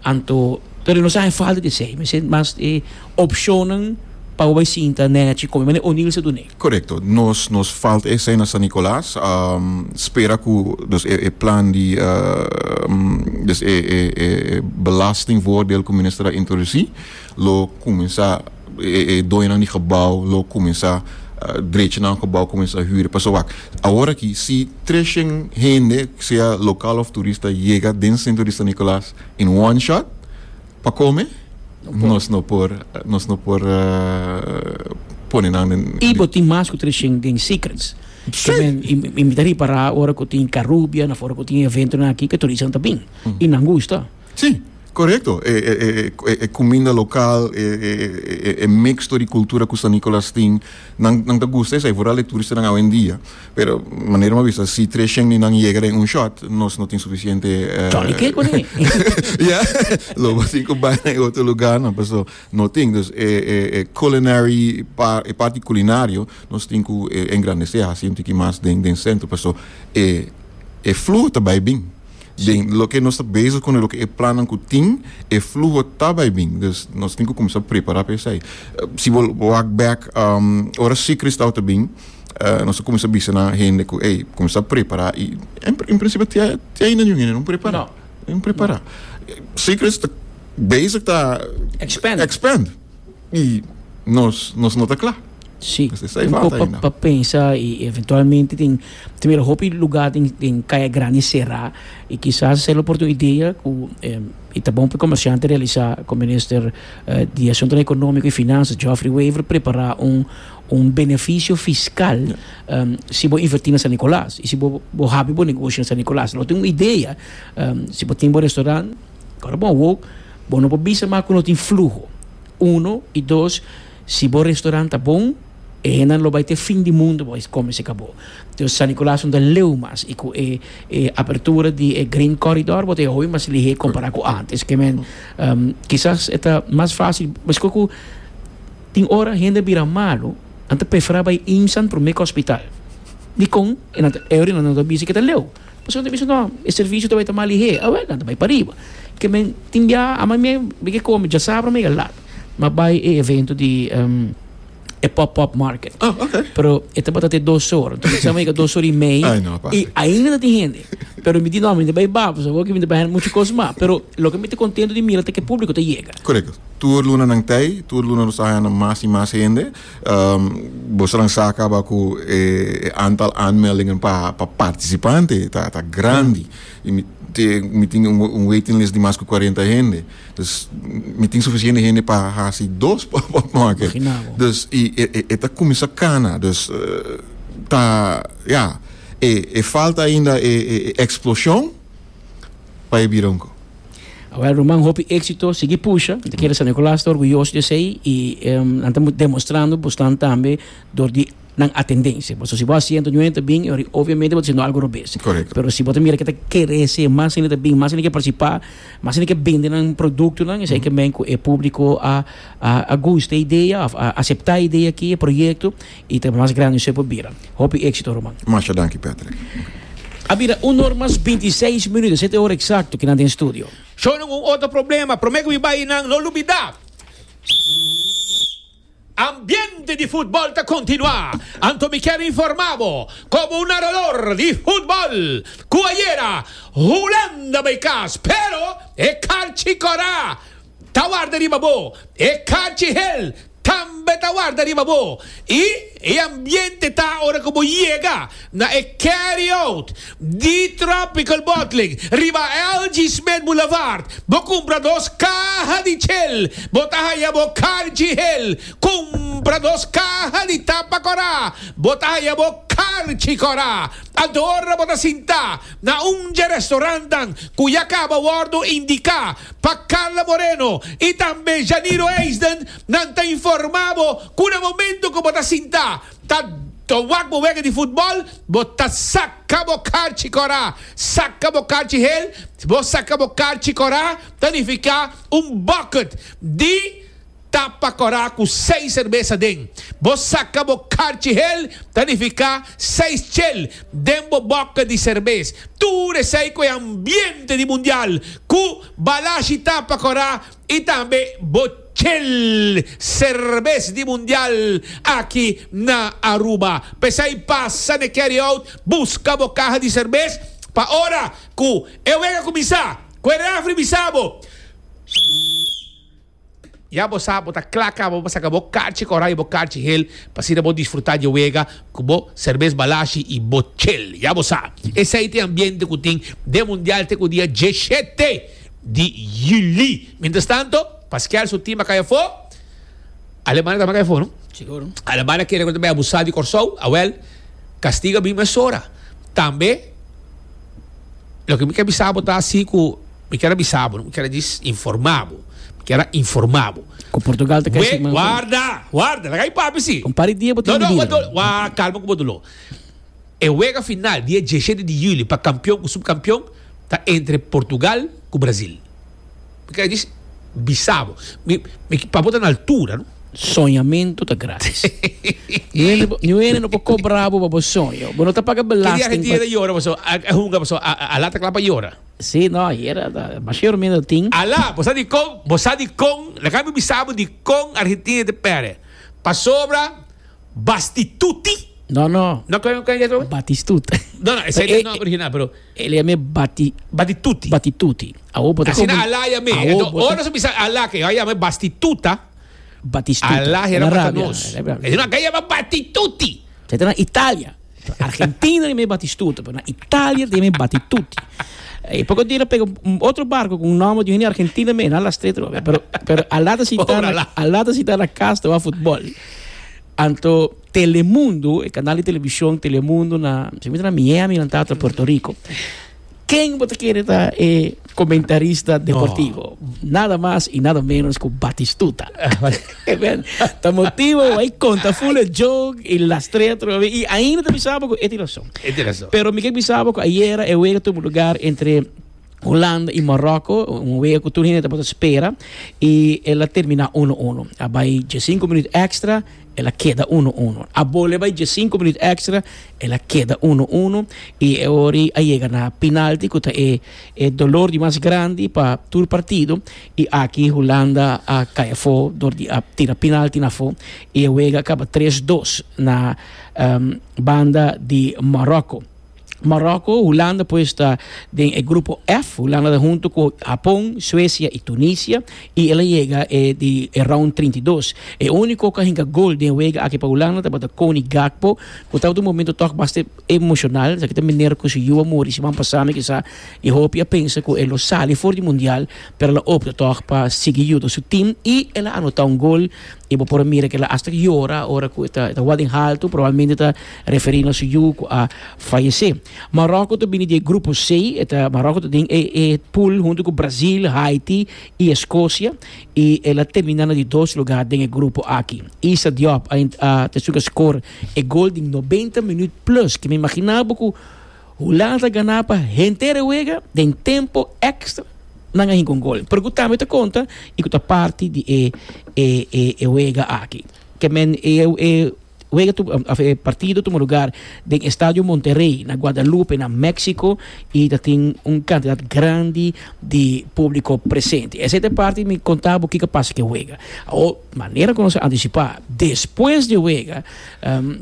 Anto pero no sa falta di esey, mi mas eh, opcionnan pa bay sinta nechi come, mane O'Neill's dune. Correcto. Nos, nos falta esey na San Nicolas. Um, spera cu dus e, e plan di uh, um, dus e, e, e belastingvoordeel cu minister a introduci, lo cuminsa e, e doño di gebouw lo cuminsa uh, drecha nan gebouw, cuminsa huur. Paso wak. Awor aki si tres hende, sea local of turista, yega den centro di San Nicolas in one shot pa come, nos no por nos no por uh, pone nan den Y bo tin mas cu tres den Secrets. Si. Men, i mi ta ripara ora cu tin Carubia, na ora cu tin evento na aki cu turista ta bin. Y nan gusta. Si, correcto. E, e, e, e cuminda local, e, e, e, e mixto di cultura cu San Nicolas tin, nan nan ta gusta esey, vooral e turistanan hoy en dia. Pero manera mi a bisa, si tres hende nan yega den un shot, nos no tin suficiente uh, Johnny Cake con Ja, lo bo tin cu bay na otro lugar, no, pero no tin. Dus e, e, e culinary pa, e parti culinario, nos tin cu eh, engrandece, asina un tiki mas den den centro, paso e e fluho ta bay bin. Den loke nos ta bezig cu loke e plan cu tin, e fluho ta bay bin. Dus nos tin cu cuminsa prepara pa esey. Si bo walk back, um, ora Secrets ta bin, uh, nos a cuminsa bisa na hende cu, hey, cuminsa prepara y en, en principio te te ainda ninguém no prepara. No. No prepara. Secrets ta bezig ta Expand. Expand. Y nos nos no ta cla. Si, Dus esey un falta pa, ainda. Pa pensa y eventualmente tin tin hopi luga den den Caya Grandi sera y kisas sea oportunidad cu eh, y ta bon pa comerciante realisa cu minister eh, di Asunto Economico y Finanzas Geoffrey Wever prepara un un beneficio fiscal um, si bo inverti na San Nicolas y si bo bo habri bo negoshi na San Nicolas. No tin un idea um, si bo tin un restaurant, awor bon, bo bo no por bisa mas cu no tin fluho. Uno y dos, si bo restaurant ta bon, e nan lo bay te fin di mundo bo come se acabou. Dus San Nicolas no ta leu mas y cu e, e apertura di e Green Corridor bo ta hopi mas lihe compara cu antes kiermen um, kisas ta mas facil, mas cu tin ora hende bira malo, nan ta prefera bay IMSAN prome cu hospital. Di con e nan e ora nan ta bisa cu ta leu. Pasobra nan ta bisa no, e servicio ta bay ta mas lihe. Ah, wel, nan ta bay pariba. Kiermen tin ya ama mi mi come ya sabra mi lat. Ma bay e evento di um, e pop-up market. Oh, ok. Pero e tabata te dos ora. Anto, mi a dos ora y mey. Ay, no, pasa. Y ainda tin hende. Pero mi di no, mi bay ba, so cu mi bay mucho cos mas. Pero loke mi ta contento di mira ta cu e publico ta yega. Correcto. Tur luna nan t'ey, tur luna nos ta mas y mas hende. Um, bo nan sa caba cu eh, aantal aanmeldingen pa pa participante ta ta grandi. Y mi te, mi tin un, un waiting list di mas cu cuarenta hende. Dus mi tin suficiente hende pa haci dos pop-up market. Imagina bo. Dus y e, e, e ta cuminsa cana. Dus uh, ta ja, e, e falta ainda e, e, e explosion pa e bira un co. Awor, ruman, hopi exito, sigui pusha. Ta kere San Nicolas ta orguyoso di esey y um, nan ta demostrando bastante tambe door di nan attendentie. Pasobra si bo shen noventa bin, obviamente bo ta haciendo algo robes. Correcto. Pero si bo mira cu ta crece, mas hende bin, mas hende kier participa, mas hende kier bende un producto, nan, esey kiermen cu e publico a a a gusta e idea, a, a acepta e idea aki, e proyecto, y ta mas grandi esey por bira. Hopi exito, ruman. Masha danki, Patrick. A bira un or mas binti seis minuut, shete ora exacto, aki na studio. Só un otro problema, prome cu mi bay nan, no lubida. Ambiente di futbol ta continua. Anto mi kier informa bo, como un narador di futbol, cu ayera, Hulanda bay cas, pero e carchi cora, ta warda riba bo, e carchi hel, tambe ta warda riba bo. Y e ambiente ta ora cu bo yega na e carry out di Tropical Bottling riba L G. Smith Boulevard. Bo cumpra dos caha di Chel, bo ta haya bo carchi hel. Cumpra dos caha di tapa cora, bo ta haya bo carchi cora. Anto ora bo ta sinta na un restaurant cu ya caba a wordo indica pa Carla Moreno y tambe Janiro Eisden, nan ta informa bo cu na momento cu bo ta sinta ta ta wak bo wega di futbol, bo ta saca bo carchi cora, saca bo carchi hel. Bo saca bo carchi cora, ta significa un bucket di tapa cora cu seis cerbes den. Bo saca bo carchi hel, ta significa seis Chel den bo bucket di cerbes. Tur esey cu ambiente di mundial, cu Balashi tapa cora y tambe bo Chel cerbes di mundial aki na Aruba. P'esey pasa na carry out, busca bo caha di cerbes, pa ora cu e wega cuminsa, cu e refri bisa bo. Ya bo sa, bo ta cla caba, bo saca bo carchi cora y bo carchi hel, pa asina bo disfruta di wega, cu bo cerbes Balashi y bo Chel. Ya bo sa. Esey ta e ambiente cu tin di mundial te cu dia diesshete di juli. Mientras tanto, Pascal su team a cay afo. Alemania tambe a cay afo, no? Sigur. Alemania kier tambe abusa di Corsou, awel, castigo a bin mesora. Tambe, loke mi kier bisa bo ta asina cu, mi kier bisa bo, mi kier djis informa bo. Mi kier informa bo. Cu Portugal ta We, casi warda, warda, laga papi si. Un par di dia No, bo tin no, dia. wa, wa, calma cu bo dolo. E wega final, dia diesshete di juli, pa campeon cu subcampeon, ta entre Portugal cu Brasil. Mi kier djis bisa bo. Mi, mi, pa bo ta na altura, no? Soñamento ta gratis. Ni hende no por cobra bo pa bo soño. Bo no ta paga Ki dia belasting. Argentina yora, paso, a, a hunga, paso, a, a, a lata cla pa yora. Si, no, era mas menos tin. Ala, bo sa di con, bo sa di con, laga mi bisa bo di con Argentina ta perde. Pasobra Bastituti. No, no. No, con con con Batistuta. No, no, esey Eh, ta e nomber original, pero E ta yama Bati Batituti. Batituti. Awo bo ta Asina ala yam'e. Awo Anto, bo ta- ora bo bisa ala cu yama Bastituta. Batistuta. Alá El era a rabia, nos. el a rabia. E una kaya Batituti. Esei na Italia. Argentina tin Batistuta, pero na Italia tin Batituti. I poko dia a pega un otro barko ku nòmber di un Argentina mes, na las tres, pero pero Alá ta sinta Pobre Alá. Alá ta sinta na kas ta futbòl. Anto Telemundo, e kanal di televishon Telemundo na, si na Miami, na tata Puerto Rico. Ken bo ta kere ta eh, komentarista deportivo? Nada mas i nada menos ku Batistuta. Ta motibu, ei konta full joke i las tres i ainda ta pensando ku e rason. Interesante. Pero mi ke bisa ku ayera e wega a tuma lugá entre Hulanda i Maroko, un wega ku tur hende tabata spera i el a terminá uno uno. A bai sinku minüt èkstra, el a keda uno uno. A bolbe bai sinku minüt èkstra, el a keda uno uno i awor a yega na penalti, ku ta e, e doló di mas grandi pa tur partido i aki Hulanda a kai afó, dor di a tira penalti na afó i e wega a kaba tres dos na um, banda di Maroko. Maroko, Hulanda pues ta den e grupo F, Hulanda ta huntu ku Hapon, Suesia i Tunisia i el a yega eh, di eh, round trinta i dos. E úniko ku a hinka gol den wega aki pa Hulanda tabata Cody Gakpo, ku tabata un momento toch bastante emoshonal, sa ku manera ku su yu a muri siman pasá kisas i hopi a pensa ku e lo sali for di Mundial, pero el a opta toch pa sigui yuda su team i el a anotá un gol i bo por mira ku el a hasta yora ora ku ta ta wading alto, probablemente ta referiendo su yu ku a fayesé. Maroko ta bini di grupo C, ta Maroko ta den e, e pool huntu ku Brasil, Haiti i Eskosia i el a terminá na di dos lugá den e grupo aki. Issa Diop a, a ta esun ku a score e gol di nobenta minüt plus, ku mi imaginá ku Hulanda gana pa henter e wega den tempu èkstra nan a hinka un gol. Pero tambe ta konta i ku ta parti di e e e, e wega aki. Ke men e e wega tu e partido a tuma lugá den Estadio Monterrey na Guadalupe, na México, i tin un kantidat grandi di públiko presente. Esei ta parti mi konta bo kiko a pasa ku wega. O manera ku nos a antisipá despues di wega, um,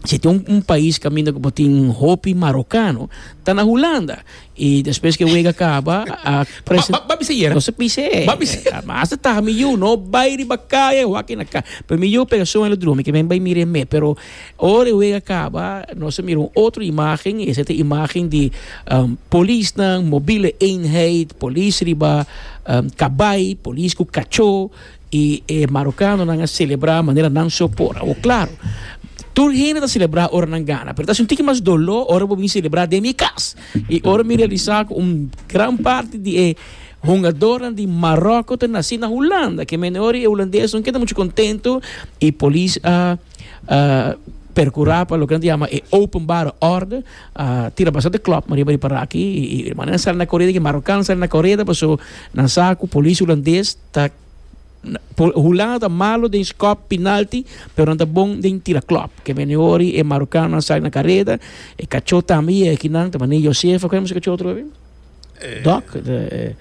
si tin un, un pais kaminda ku tin hopi marokano, ta na Hulanda. I despues ku wega kaba, a Ba, ba, bisa yera. No se pise. Ba bisa. Mas ta mi yu no bai riba kaya, wak na ka. Pero mi yu pega soño drumi, ke men bai mira me, pero ora wega kaba, nos a mira un otro imágen, esei ta imágen di um, polis nan, mobiele eenheid, polis riba um, kabai, polis ku kachó i e marokanonan a selebrá manera nan so por. O klaro, tur hende ta selebrá ora nan gana, pero ta un tiki mas doló ora bo selebrá den mi kas. I ora mi realisá ku un gran parti di e hungadónan di Maroko ta nasí na Hulanda, ke men ora e hulandes no keda muchu kontentu i polis a uh, perkurá pa loke nan yama e openbare orde, uh, tira bastante klòp, Maria Maria para aki i, i manera sali na koreda, ku marokano sali na koreda, paso nan sa ku polis hulandes ta Hulanda ta malu den skòp penalti, pero nan ta bon den tira klòp. Ke men ora e marokano sali na kareda, e kachó tambe aki nan, tambe Josefa, kon e kachó otro Doc, de,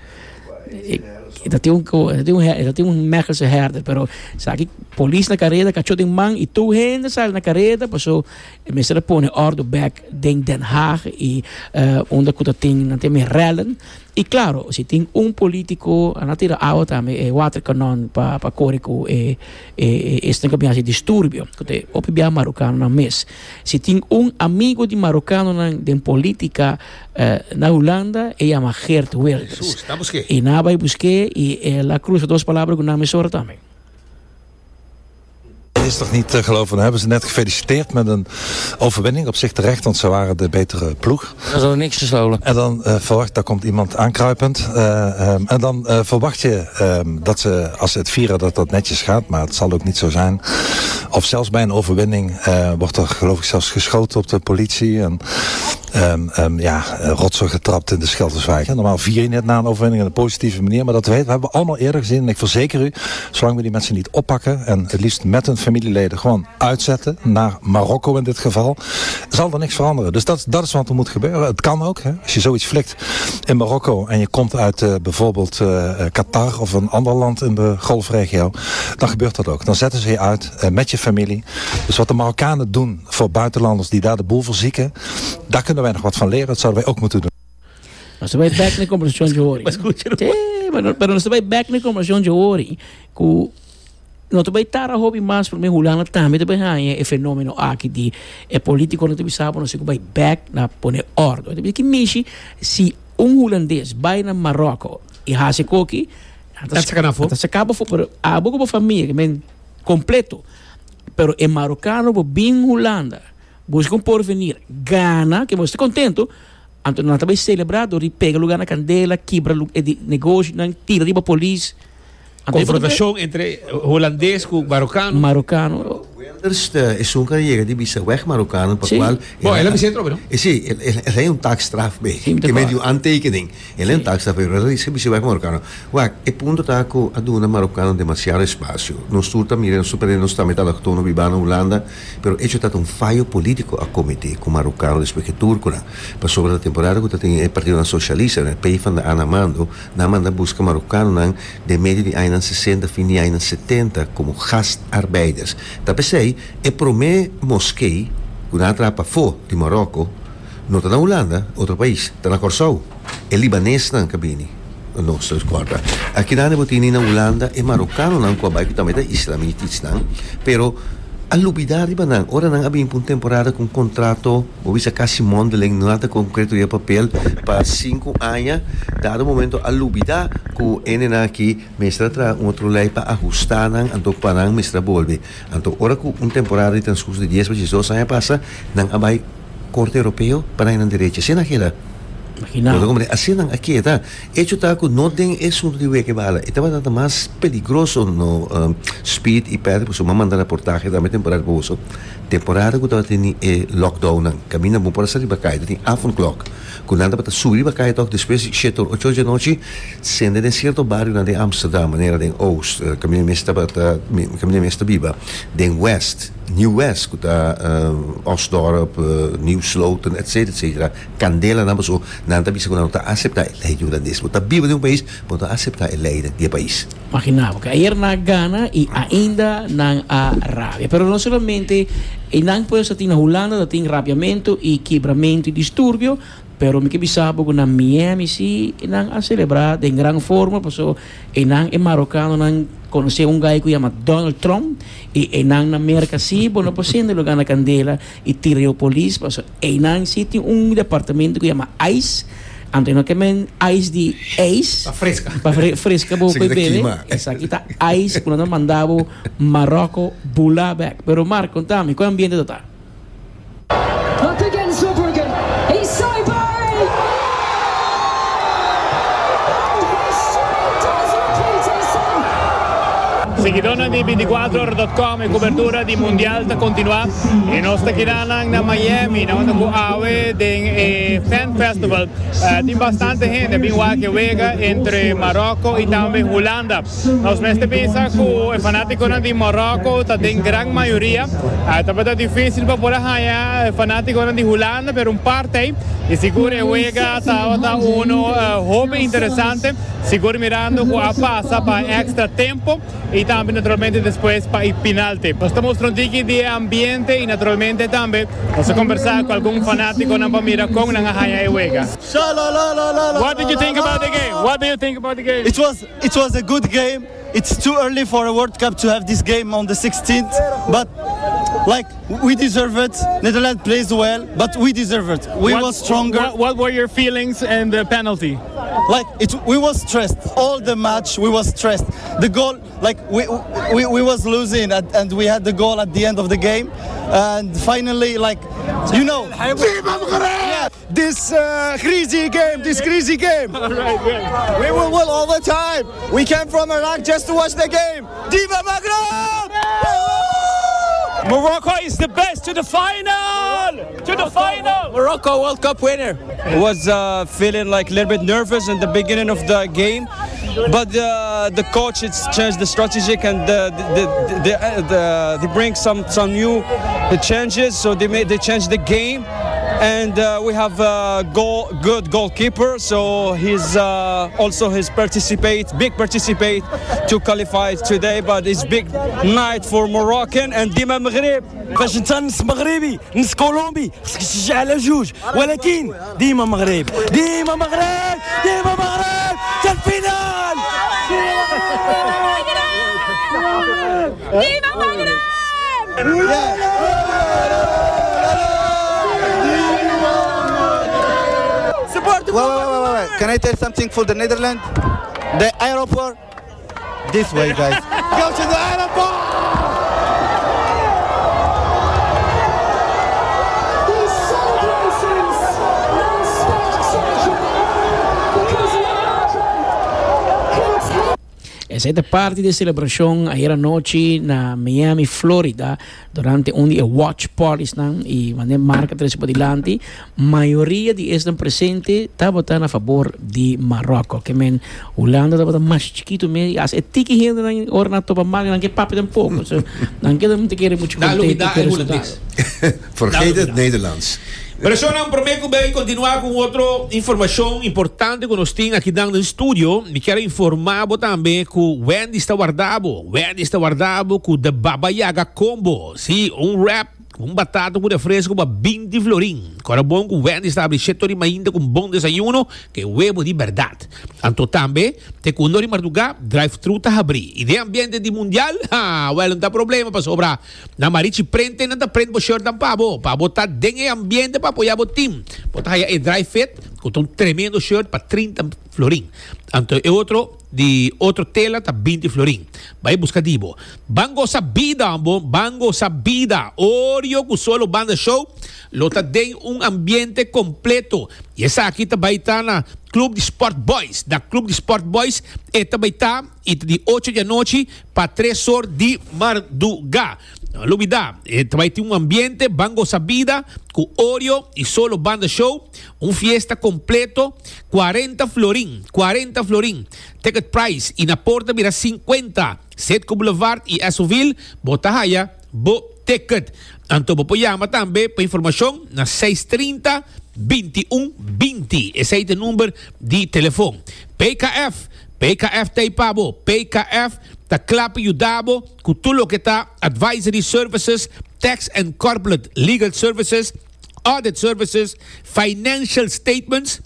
eh, dat tin un dat tin un dat tin un Mechelse herder, pero sabe polis na kareda, kachó den man i tur hende sali na kareda, paso mester pone orde back den Den Haag i uh, unda ku tin nan tin rellen. I klaro, si tin un polítiko, nan a tira awa tambe, e waterkanon pa pa kore ku e e e ku e disturbio, ku ta hopi bia marokanonan mes. Si tin un amigu di marokanonan den polítika uh, na Hulanda, e yama Geert Wilders. Jesus, ta busk'é. I nan a bai busk'é i el a krusa dos palabra ku nan mesora tambe. Het is toch niet te geloven. Dan hebben ze net gefeliciteerd met een overwinning. Op zich terecht, want ze waren de betere ploeg. Dat is al niks gestolen. En dan uh, verwacht, daar komt iemand aankruipend. Uh, um, en dan uh, verwacht je um, dat ze, als ze het vieren, dat dat netjes gaat. Maar het zal ook niet zo zijn. Of zelfs bij een overwinning wordt er geloof ik zelfs geschoten op de politie. En um, um, ja, rotzooi getrapt in de Schilderswijk. Normaal vier je net na een overwinning in een positieve manier. Maar dat weten we hebben we allemaal eerder gezien. En ik verzeker u, zolang we die mensen niet oppakken en het liefst met hun familieleden gewoon uitzetten, naar Marokko in dit geval, zal er niks veranderen. Dus dat, dat is wat er moet gebeuren. Het kan ook. Hè. Als je zoiets flikt in Marokko en je komt uit uh, bijvoorbeeld uh, Qatar of een ander land in de golfregio, dan gebeurt dat ook. Dan zetten ze je uit uh, met je familie. Dus wat de Marokkanen doen voor buitenlanders die daar de boel verzieken, daar kunnen wij nog wat van leren. Dat zouden wij ook moeten doen. Nos bai bèk na kombersashon di ori. Mas skucha. Sí, pero, pero nos bai bèk na kombersashon di ori. Ku No ta bay tarda hopi mas pa Hulanda tambe tambe haña e fenomeno aki di e politico no ta sabi no si bay back na pone orde. Cu mishi si un hulandes bay na Marocco y haci koki Dat saca na afo. Ta saca afo, pero abo como famia, cu men completo. Pero e marocano bo bin Hulanda, busca un porvenir, gana, cu bo ta contento, anto nan tambe celebra, y pega luga na candela, kibra e negoshi, nan tira riba polis. Confrontacion entre hulandes cu marocano. Marocano. Wilders is un yega di bisa weg Marokkanen, pa cual... Bom, el a bisa no? Eh, si, el, el, el een taakstraf bij. Que medio aantekening. El een taakstraf bij. El is bisa weg Marokkanen. Wak, e punto ta cu a duna Marokkanen demasiado espacio. Nos tur ta mira, nos super nos ta meta allochtono biba na Hulanda, pero hecho ta un fallo politico a comete cu Marokano despues cu Turco. Pasobra e temporada cu tin e Partido Socialista, e PvdA na mando, nan a manda busca Marokanonan den medio di aña sesenta, fin di aña setenta como gastarbeiders. Ta p'esey, e prome moskee, cu nan a traha pafo di Marocco, no ta na Hulanda, otro pais, ta na Corsou. E libanesnan cu a bini. No, corda. Aki nan bo tin na Hulanda e Marokanonan cu a tambe ta islamitisch nan, pero a lubida riba nan, ora nan a bin un temporada cu contrato, of bisa casi mondeling, nada concreto di papel, pa cinco aña, dado momento a lubida cu nan aki, mester traha un otro ley pa ahusta nan, anto pa nan mester bolbe. Anto ora cu un temporada di transcurso di dies pa diesdos aña pasa, nan a bay Corte Europeo pa nan derecho. Asina keda. Imagina. Asina nan aki ta. Hecho ta cu no tin asunto di weke bala. E tabata mas peligroso no um, Speed y Pedro, pues m'a manda reportahe tambe temporada boso. Temporada cu tabatin e lockdown nan. Caminda bo por sali riba caya, tin avondklok. Cu nan tabata subi riba caya toch despues shete ocho di anochi, sende den cierto bario na di Amsterdam, manera den Oost, uh, caminda mes tabata caminda mes ta biba, den West, Nieuw West, cu ta uh, Osdorp, uh, Nieuw Sloten, et cetera et cetera. Candela nan paso, nan ta bisa cu nan ta acepta e ley hulandes. Bo ta biba den un pais, bo ta acepta e ley di e pais. Imagina, pasobra ayera nan a gana y ainda nan a rabia. Pero no solamente y nan por tin na Hulanda, tin rabiamento y kibramento y disturbio, pero mi kier bisa cu na Miami si nan a celebra den gran forma, paso y nan e marocanonan conoce un guy cu yama Donald Trump y nan na America si, bueno, pues sende luga na candela y tira polis, paso y nan si tin un departamento cu yama ICE. Anto no kiermen ice di ice. Pa fresca. Pa fre fresca bo Esaki ta bebe. kima. Esaki ta ICE cu nan manda bo Marocco bula back. Pero Mark, conta mi, cua ambiente ta? Up against Verbruggen. He's Saibari! And history does repeat itself. Siguidornan di binticuater ora punto com, e cobertura di Mundial ta continua y nos ta aki na Miami, na unda awe den eh, Fan Festival. Uh, tin bastante hende, bin wak e wega entre Marocco y tambe Hulanda. Nos mester pensa cu e fanaticonan di Marocco ta den gran mayoria. Uh, ta dificil pa por haya fanaticonan di Hulanda, pero un parti y sigur e wega ta uno uh, hopi interesante, sigur mirando cu a pasa pa extra tempo y tambe naturalmente despues pa penalti. Nos ta mustrando aki di ambiente y naturalmente tambe nos ta combersa cu algun fanaticonan pa mira con nan a haya e wega. What did you think about the game? What do you think about the game? It was it was a good game. It's too early for a World Cup to have this game on the sixteenth, but like we deserve it. Netherlands plays well, but we deserve it. We What- was stronger. What, what were your feelings and the penalty? Like it, we was stressed all the match. We was stressed. The goal, like we we, we was losing, at, and we had the goal at the end of the game, and finally, like you know, yeah, This uh, crazy game, this crazy game. All right, good. We will win all the time. We came from Iraq just to watch the game. ديما مغرب! Morocco is the best to the final! To the final! Morocco World Cup winner. Was uh, feeling like a little bit nervous in the beginning of the game, but uh, the coach it's changed the strategic and the, the, the, the, the, they bring some some new changes. So they made they changed the game, and uh, we have a goal, good goalkeeper. So he's uh, also his participate big participate to qualify today. But it's big night for Moroccan and ديما مغرب. باش انت نص مغربي نص كولومبي خصك تشجع على جوج ولكن ديما مغرب ديما مغرب ديما مغرب حتى ال finale. Viva Maghreb! Support wait, wait, wait, wait, wait. Can I tell something for the Netherlands? The airport this way, guys. Go to the airport! These celebrations are spectacular because Morocco continue. Esey ta parti di e celebracion ayera nochi na Miami, Florida, durante un di e watch parties nan y manera marca tres pa dilanti, mayoria di esnan presente tabata na fabor di Marocco. Kiermen Hulanda tabata mas chikito mes, as e tiki hende nan ora nan topa mal nan ke papia tampoco. So nan keda mucho kere mucho Daar contento lubida cu e e resultado. hulandes. Vergeet het Nederlands. Pero shonnan, prome cu bay continua cu otro informacion importante cu nos tin aki den studio, mi kier informa bo tambe cu Wendy's ta warda bo. Wendy's ta warda bo cu The Baba Yaga Combo. Si, un wrap, un batata cu refresco pa binti florin. Awor bon cu Wendy's ta habri shete or di mainta cu un bon desayuno, cu webo di berdad. Anto tambe, te cu un or di marduga, drive-thru ta habri. Y den ambiente di mundial, ha, well, no ta problema pasobra. Na Marichi Print nan ta print bo shirt dan pa bo. Pa bo ta den e ambiente pa apoya bo team. Bo ta haya e dry fit, cu un tremendo shirt pa trinta florin. Anto e otro di otro tela ta binti florin. Bay busca di bo. Ban gosa bida, bo. Ban gosa bida. Oreo cu Solo Banda Show. Lo ta den un ambiente completo. Y esaki ta bay ta na Club di Sport Boys. Da Club di Sport Boys. E ta bay ta y di ocho di anochi pa tres or di marduga. No lubida, e ta bay tin un ambiente, ban gosa bida, cu Oreo y Solo Banda Show, un fiesta completo, cuarenta florin, cuarenta florin. Ticket price, y na porta bira cincuenta. Citgo Boulevard y Essoville, bo ta haya bo ticket. Anto bo por yama tambe pa informacion na seis trinta bintiun binti. Esey ta e number di telefon. P K F, P K F t'ey pa bo. P K F ta cla pa yuda bo cu tur loke ta advisory services, tax and corporate legal services, audit services, financial statements.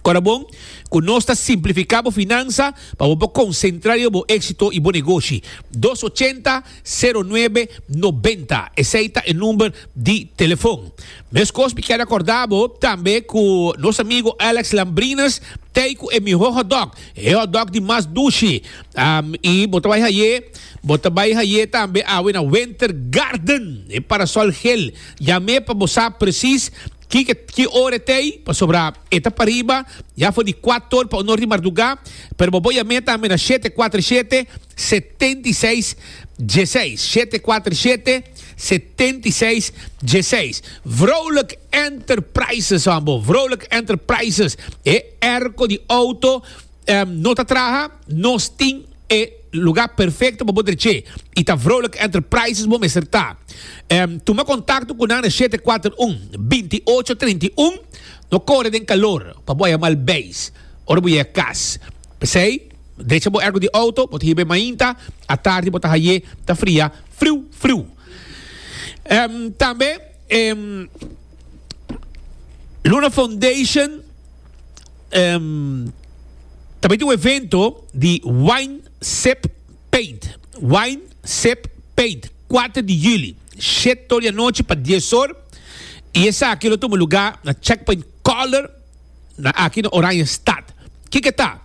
Awor bon, cu nos ta simplifica e finansa pa bo concentra riba exito y bon negoshi. dos ochenta, cero nuebe, nobenta. Esey ta e number di telefon. Mescos, mi kier recorda bo tambe cu nos amigo Alex Lambrinas t'ey cu e miho hot dog. E hot dog di mas dushi. Um, y bo ta bay haye, bo ta bay haye tambe awe na Winter Garden. E Parasol Gel. Yam'e pa bo sa precies ki ki ora t'ey pasobra e ta pariba ya for di cuater or pa un or di marduga, pero bo por yama tambe na shete cuater shete setenta y seis diesseis, shete cuater shete setenta y seis diesseis. Vrolijk Enterprises, ambo. Vrolijk Enterprises e airco di auto um, no ta traha, nos tin e lugar perfecto pa bo drecha. Y ta Vrolijk Enterprises bo mester ta. Um, tuma contacto cu nan shete cuater un binti'ocho trinta y un. No core den calor, pa bo mal base. Ora bo yega cas. P'esey, drecha bo airco di auto, bo ta hib'e mainta, atardi bo ta haye, ta fria, friu, friu. Um, tambe, um, Luna Foundation um, tambe tin un evento di Wine Sip Paint. Wine Sip Paint. cuater di juli. shete or di anochi pa dies or. Y esaki lo tuma lugar na Checkpoint Color na aki na Oranjestad. Kico ta?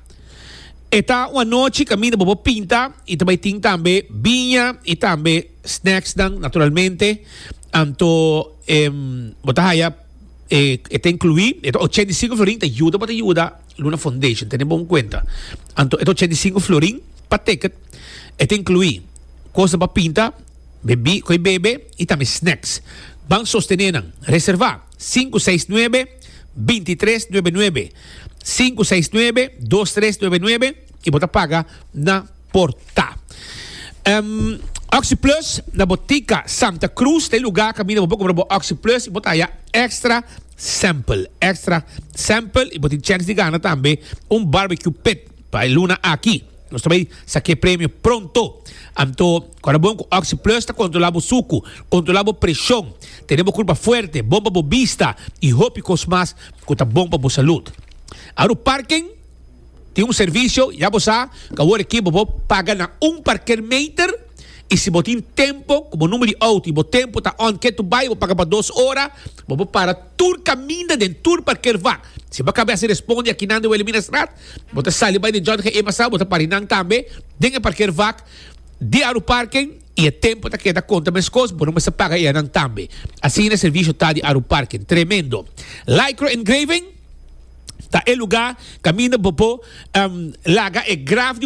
E ta un anochi caminda bo por pinta y tambe tin tambe biña y tambe snacks dan naturalmente. Anto em bo ta haya eh, ta inclui, e ochenta y cinco florin ta yuda pa yuda Luna Foundation, tene bon cuenta. Anto e ochenta y cinco florin pa ticket, ta inclui cos pa pinta, bebe, coi bebe y tambe snacks. Ban sostene nan. Reserva cinco seis nuebe dos tres nuebe nuebe, cinco seis nuebe dos tres nuebe nuebe y bo ta paga na porta. Um, OxyPlus na Botica Santa Cruz, tin lugar caminda bo cumpra OxyPlus y bo ta haya extra sample, extra sample y bo tin chance di gana tambe un barbecue pit pa luna aki. Nos tambe saca premio pronto. Anto, awor bon, OxyPlus ta controla e suco, controla e presion, tene curpa fuerte, bon pa bista y hopi cos mas cu ta bon pa bo salud. Aru Parking tin un servicio, ya bo sa, cu awor aki bo paga na un parkeermeter. Y si bo tin tempo, como number di auto, y bo tempo ta on keto bay, bo paga pa dos ora, bo por para tur caminda den tur parkeervak. Si bo caba responde aki na Wilhelminastraat, bo ta sali bay di John G. Emasa, bo ta para einan tambe, den e parkeervak di Aruparking y e tempo ta keda conta mescos, bo no mester paga einan tambe. Asina e servicio ta di Aruparking. Tremendo. Lycra Engraving, ta e lugar, caminda bo por, um, laga e graf di